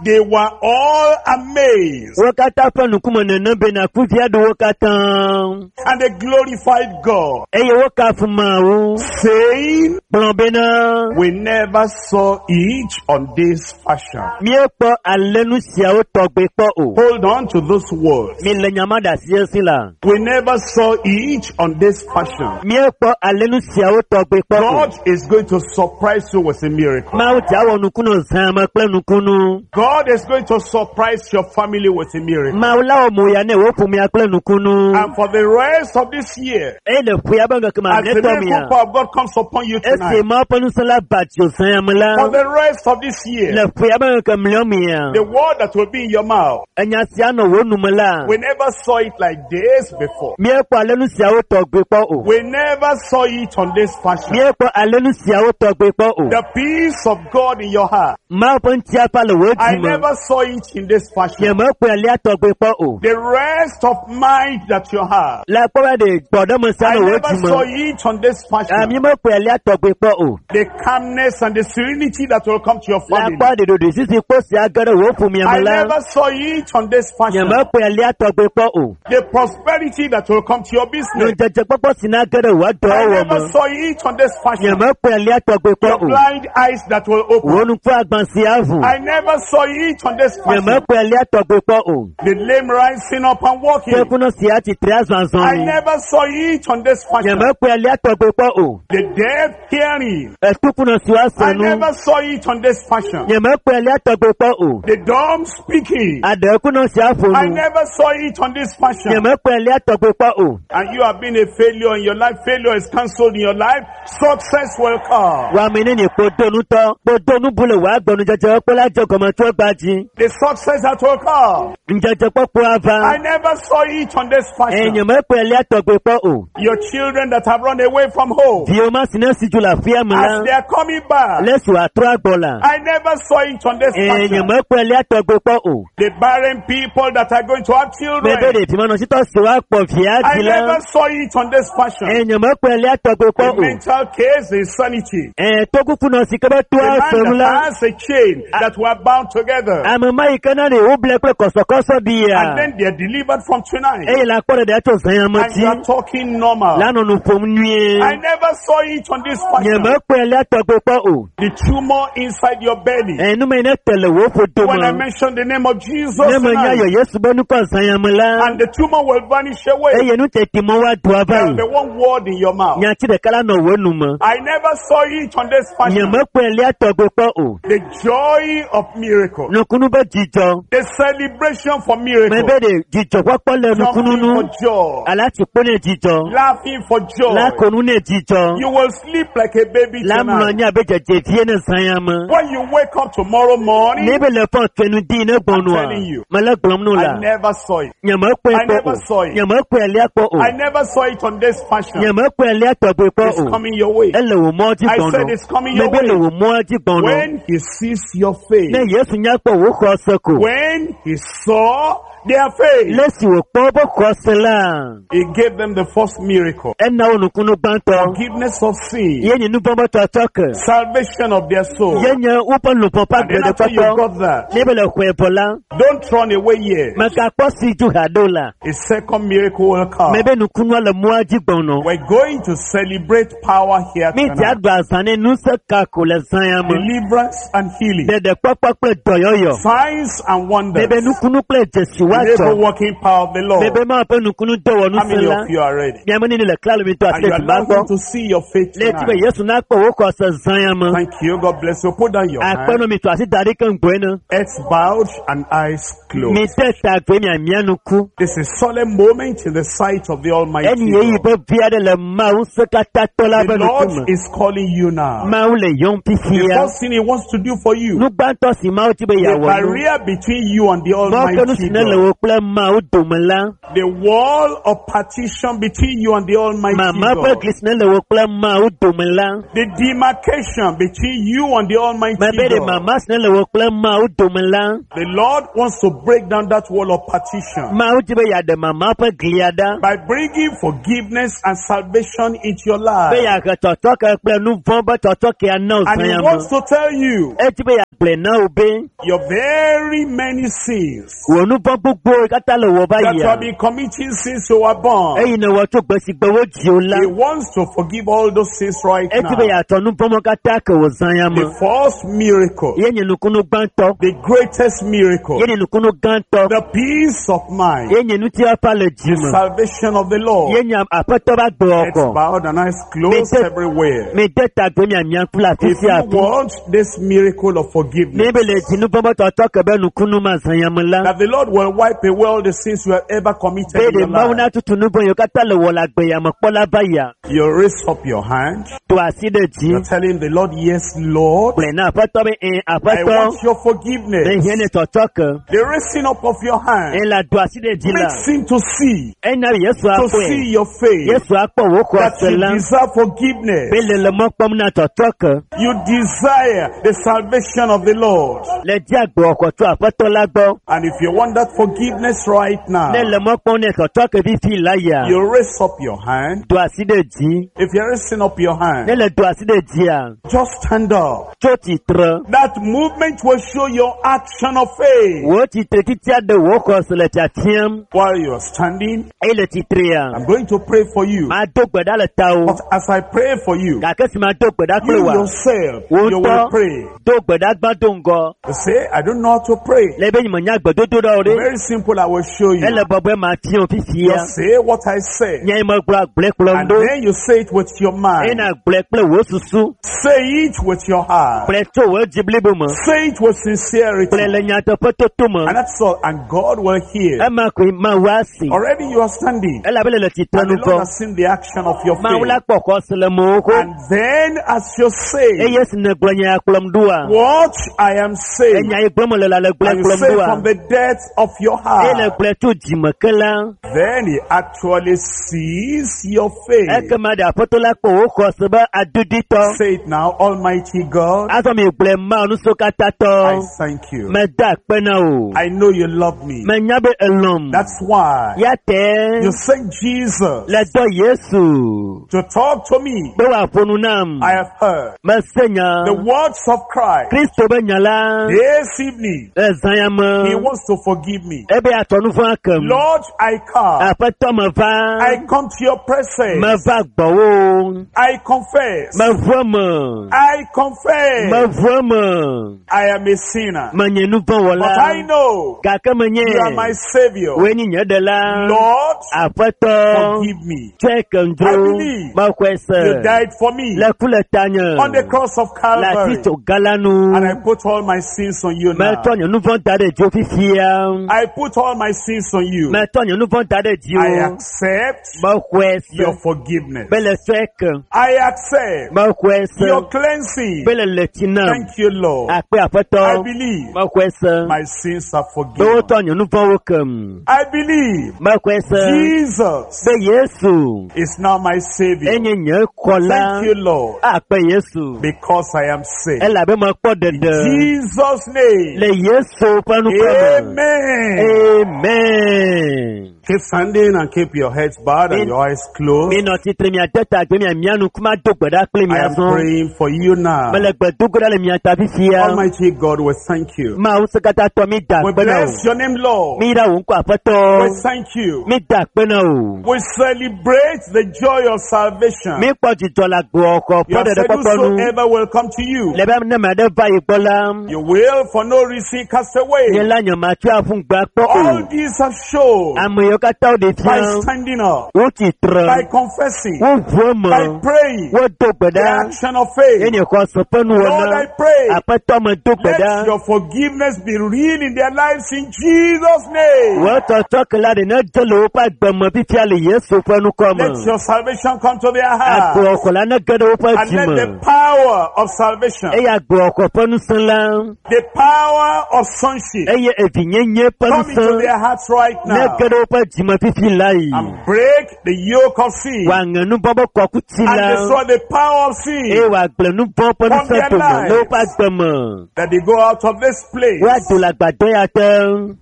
they were all amazed Wo katã ƒe ŋkume nene bena kuvia ɖo wo katã. and they glorified God, Eye wokafu Mawu saying, gblɔ bena We never saw it on this fashion. míekpɔ ale nu siawo tɔgbe kpɔ o. Hold on to those words. Mi le nyama ɖe asi esi la. We never saw it on this fashion. Míekpɔ ale nu siawo tɔgbe kpɔ o. God is going to surprise you with a miracle. Mawu dza wɔ nukunu zãme kple nukunu. God is going to surprise your family with a miracle. Mawu la wɔ moya ne wò ƒomea kple nukunu. And for the rest of this year, Eye le ƒea be ŋkeke as the mamlɛtɔ miracle mea, power of God comes upon you esi tonight, Mawu ƒe ŋusẽ la ba dzo zãme la, for the rest of this year, le ƒea be ŋkeke mlɔ mea, the word that will be in your mouth, enya sia nɔ wò nume la, we never saw it like this before. míekpɔ ale nu siawo tɔgbe kpɔ o. We never saw it on this fashion. Míekpɔ ale nu siawo tɔgbe kpɔ o. The peace of God in your heart, Mawu ƒe ŋutiafa le wò I dzi me. never saw it in this fashion. Nyemekpɔe alea tɔgbe kpɔ o. The rest of mind that you have, Le akpɔ be ɖe gbɔɖeme sia I nɔ wò never dzi saw me. it on this fashion. Mímekpɔe alea tɔgbe kpɔ o. The calmness and the serenity that will come to your Le family. akpɔ ɖe ɖoɖoe sisi kpo sia ge ɖe wò ƒomea I me la, never saw it on this fashion. nyemekpɔe alea tɔgbe kpɔ o. The prosperity that will come to your business. Nudzedzekpɔkpɔ si na ge ɖe wò I dɔwɔwɔ never me. saw it on this fashion. Nyemekpɔe alea tɔgbe kpɔ Your o. blind eyes that will Wò open. nuku agbã sia ʋu. I never saw it on this fashion. Nyemekpɔe alea tɔgbe kpɔ o. The lame rising up and walking. Tekunɔ sia tsitre I azɔazɔli. never saw it on this fashion. Nyemekpɔe alea tɔgbe kpɔ o. The deaf hearing. Etukunɔ si I woase nu. never saw it on this fashion. Nyemekpɔe alea tɔgbe kpɔ o. The dumb speaking. Aɖekunɔ sia ƒo I nu. never saw it on this fashion. Nyemekpɔe alea tɔgbe kpɔ o. And you have been a failure in your life. Failure is cancelled in your life. Success will come. Wame ne nye kpodonutɔ, kpodonu bu le wò agbenudzedze kpɔ la dze gɔme tso egbea dzi. The success that will come. Ŋdzedzekpɔkpɔ ava. I never saw it on this Eye fashion. nyemekpɔe alea tɔgbe kpɔ o. Your children that have run away from home, Viwo ma si ne si dzo le aƒea me as la, they are coming back, le esi wòatrɔ agbɔ la. I never saw it on this Eye fashion. nyemekpɔe alea tɔgbe kpɔ o. The barren people that are going to have Mebe children, ɖevimenɔsitɔ si woakpɔ via I dzi la, never saw it on this fashion. eye nyemekpɔe alea tɔgbe kpɔ The o. mental case, the insanity. Eye tokukunɔ si ke be The toa man senu that la, has a chain that were bound together, ame ma yi ke na ɖe woble kple kɔsɔkɔsɔ bia. and then they are delivered from tonight, Eye le akpɔ ɖeɖe tso zãyame and you are dzi talking normal. la nɔ nu ƒom nyuie. I never saw it on this fashion. Nyemekpɔe alea tɔgbe kpɔ o. The tumor inside your belly. Eye nume yi ne te le wò ƒodo When I me, mention the name of Jesus, ne menya tonight, yɔ Yesu be nukɔ zãyame la, and the tumor will vanish away. eye nu teti mɔ woado ava There will yi. be one word in your mouth. Nyati ɖeka la nɔ wò nu me. I never saw it on this fashion. Nyemekpɔe alea tɔgbe kpɔ o. The joy of miracles. miracle. Nukunu be dzidzɔ. The celebration for miracle. Mebe ɖe dzidzɔkpɔkpɔ le nukunu Jumping nu. for joy. Alati kpo ne dzidzɔ. Laughing for joy. La konu ne dzidzɔ. You will sleep like a baby La mlɔ tonight. anyi abe dzedzevie ne zã ya me. When you wake up tomorrow morning, Ne be le fɔ tɔnu di ne gbɔnua. I'm telling you. Mele gblɔm nu I la. never saw it. Nyemekpɔe I kpɔ never o. saw it. Nyemekpɔe alia kpɔ o. I never saw it on this fashion. Nyemekpɔe alia tɔgbe kpɔ It's o. coming your way. Ele wò mɔ dzi I said gbɔnɔ. it's coming your Mebe le way. wò mɔ dzi gbɔnɔ. When he sees your face, Ne Yesu nya kpɔ wò xɔse ko. when he saw their faith, Le si wòkpɔ woƒe xɔse la, he gave them the first miracle. ena wo nukunu gbãtɔ. Forgiveness of sin, Ye nye nuvɔ̃ tɔtɔ ke. salvation of their soul. Ye nye woƒe luʋɔ ƒe And then after you agbeɖekpɔkpɔ. got that, Ne be le xɔe vɔ la, don't run away yet. megakpɔ si dzu haɖo la. A second miracle will come. Mebe nukunua le mɔa dzi gbɔnɔ. We're going to celebrate power here Mi dza tonight. ɖu azã ne ŋusẽ kako le zã ya me. Deliverance and healing, Ɖeɖekpɔkpɔ kple dɔyɔyɔ. signs and wonders, Mebe nukunu kple dzesi miracle woadzɔ. working power of the Lord. Mebe Mawu ƒe nukunu How dɔwɔnusẽ many la. of you are ready? Miame nini le klalo mi to And asi you are ɖe dzima longing gbɔ. to see your faith Le eti be tonight. Yesu nakpɔ wò xɔse zã ya me. Thank you. God bless you. Put down your hand. Akpɔnɔ mi to asi da ɖi ke ŋgbɔe ne. Heads bowed and eyes Mi closed. de ta gbe miamia nuku. This is solemn moment in the sight of the Almighty Eni yeyi God. be vi aɖe le Mawu ŋusẽkatãtɔ la The ƒe Lord ŋkume. is calling you now. Mawu le yɔm The fifia. first thing He wants to do for you, Nu gbãtɔ si Mawu di be the yeawɔ nu. barrier between you and the Mɔkenu Almighty si ne le God, wò kple Mawu dome la, the wall of partition between you and the Almighty mama ƒe God, gli si ne le wò kple Mawu dome la, the demarcation between you and the Almighty mebe ɖe God. mama si ne le wò kple Mawu dome la, The Lord wants to break down that wall of partition Mawu di be yeaɖe mama ƒe glia ɖa, by bringing forgiveness and salvation into your be life. yeahe tɔtɔke kple nu vɔ̃ be tɔtɔkea na wò And zã He ya me. wants to tell you Edi be yeagblɔe na wò be your very many sins wò nu vɔ̃ gbogbowo katã le wò va that you yia. have been committing since you were born. Eyi ne wɔ tso gbe si gbe wodzi wò la, He wants to forgive all those sins right edi be now. yeatɔ nu vɔ̃ katã ke wò zã ya me. The first miracle, Ye nye nukunu gbãtɔ, the greatest miracle, ye nye nukunu gãtɔ, the peace of mind, ye nye ŋutifafa le dzi the me, salvation of the Lord. ye nye aƒetɔ ƒe Heads agbewɔkɔ. bowed and eyes closed Mete- everywhere. Mi de ta gbe miamia kple afi If sia you afi. want this miracle of Ne forgiveness, be le dzi nu vɔ̃ be tɔtɔ ke be nukunu ma zã ya me la, that the Lord will wipe away all the sins you have ever committed be in ɖe your Mawu life, natutu nu vɔ̃ yiwo katã le wɔ le agbe ya me kpɔ la va yia, you raise up your hand. do asi ɖe dzi. You're telling the Lord, yes, Lord, Gblɔe na aƒetɔ be ẽ I aƒetɔ, want your forgiveness. mehiã ne tɔtɔ ke. The raising up of your hand Ẽ la do asi ɖe dzi la, makes him to see, ena Yesu to akpɔe. see your face, Yesu akpɔ wò that xɔse you la deserve forgiveness. be le le mɔ kpɔm na tɔtɔ ke. You desire the salvation of the Lord. Le di agbewɔkɔ tso aƒetɔ la gbɔ. And if you want that forgiveness right now, Ne le mɔ kpɔm ne tɔtɔ ke fifi la yia, you raise up your hand. do asi ɖe dzi. If you're raising up your hand, Ne le do asi ɖe dzia, just stand up. tso tsitre. That movement will show your action of faith. Wò tsitre titia ɖe wò xɔse le fiafiam. While you're standing, Eye le tsitrea, I'm going to pray for you. mado gbe ɖa le tawò. But as I pray for you, Gake si mado gbe ɖa kple you wòa, yourself, wò you ŋutɔ will pray. do gbe ɖa gbã do ŋgɔ. You say, I don't know how to pray. Le be nyemenya gbedodo ɖa o ɖe. Very simple, I will show you. Ele bɔbɔe ma fia wò fifia. Just say what I say. Nya yi megblɔ agblɔe kplɔm And ɖo. then you say it with your Eye mind. nàgblɔe kple wò susu. Say it with your heart. Gblɔe tso wò dzi blibo me. Say it with sincerity. Gblɔe le nyateƒe toto me. And that's all. And God will hear. Ema koe Mawu asi. Already you are standing. Elabe le le tsitre And the nu Lord vɔ. has seen the action of your Mawu la faith. kpɔ xɔse le mewò xoxo. And then as you say, Eye si nègblɔ nya ya kplɔm ɖoa, what I am saying, enya yi gblɔm mele la le gblɔe and you kplɔm say ɖoa, from the depth of your eye heart, nègblɔe tso dzime ke la, then he actually sees your faith. ekema ɖe aƒetɔ la kpɔ wò xɔse be aduditɔ. Say it now, Almighty God, Azɔ mi gblɔe Mawu I nusrɔ̃katãtɔ. thank you. Meda akpe na wò. I know you love me. Menya be elɔ̃m. That's why Ya te you sent Jesus le dɔ Yesu to talk to me. be wòaƒo nu nam. I have heard Mese nya the words of Christ Kristo be nya la this evening. le zã ya He me. wants to forgive me. me. Ebe atsɔ nu vɔ̃ akem. Lord, I come. Aƒetɔ meva. I come to your presence. Meva gbɔwò. I confess. Meʋu eme. I confess. Meʋu eme. I am a sinner. Menye nu vɔ̃ But wɔla. I know Gake menye. you are my savior. Wòe nye nye ɖela. Lord, Aƒetɔ. forgive me. Tsɔe kem dzro. I believe Mexɔe se. You died for me Le ku le tanye. on the cross of Le Calvary. atitsoga la nu. And I put all my sins on you now. Metsɔ nye nu vɔ̃ da ɖe dziwò fifia. I put all my sins on you. Metsɔ nye nu vɔ̃ da ɖe I dziwò. accept Mexɔe se. your forgiveness. Be le tsɔe kem. I accept Mexɔe se. your cleansing. Be le le tsi nam. Thank you, Lord. Akpe I aƒetɔ. believe Mexɔe se. my sins are Be forgiven. wotsɔ nye nu vɔ̃wo kem. I believe Mexɔe se. Jesus Be Yesu is now my Savior. enye nye xɔla. Thank you, Lord, Akpe Yesu. because I am saved. Elabe mekpɔ ɖeɖe. Jesus' name. Le Yesu ƒe ŋkɔ me. Amen. Amen. Keep standing and keep your heads bowed and your eyes closed. Minɔ tsitre miade ta gbe mia mia ŋkume ado gbe ɖa kple I mia am zɔ. praying for you now. Mele gbe do ge ɖa le mia ta fifia. Almighty God, we thank you. Mawu sekatãtɔ mi da We akpe na wò. bless your name, Lord. Mi yra wò ŋkɔ We aƒetɔ. thank you. Mi da akpe na wò. We celebrate the joy of salvation. Mi kpɔ dzidzɔ le agboxɔ You ƒe have said, ɖeɖekpɔkpɔ nu. whosoever will come to you, Le be ne ame aɖe va yi gbɔ la, you will for no reason cast away. nye la nye matsɔe aƒu ŋgbe akpɔ All o. these have shown Ame yiwo katã woɖe by fia, standing up, wotsi tre, by confessing, woʋu eme, by praying, wodo gbe the ɖa. action of faith. Enye xɔse ƒe Lord, nuwɔna. I pray, Aƒetɔ me do gbe let ɖa. your forgiveness be real in their lives in Jesus' name. Wò tsɔtsɔke la ɖe ne dze le woƒe agbe me fifia le Yesu ƒe ŋkɔ Let me. your salvation come to their heart. Agboxɔ la ne ge ɖe woƒe And dzi let me. the power of salvation, Eye agboxɔ ƒe ŋusẽ la, the power of sonship, eye evinyenye ƒe come into ŋusẽ their hearts right ne now ge ɖe woƒe dzi me fifi la yi. and break the yoke of sin Wòaŋe nu vɔ̃ ƒe kɔkuti and la, destroy the power of sin eye wòagblẽ nu vɔ̃ ƒe From ŋusẽ their dome le woƒe lives. agbe me. that they go out of this place Woado le agbadɔ ya te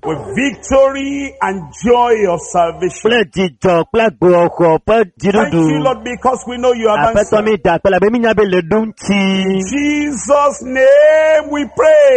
with victory and joy of salvation. kple dzidzɔ kple agboxɔ ƒe Thank you, dziɖuɖu. Lord, because we know you have Aƒetɔ answered. mi da akpe labe mi nya be le ɖo ŋuti. In Jesus' name we pray.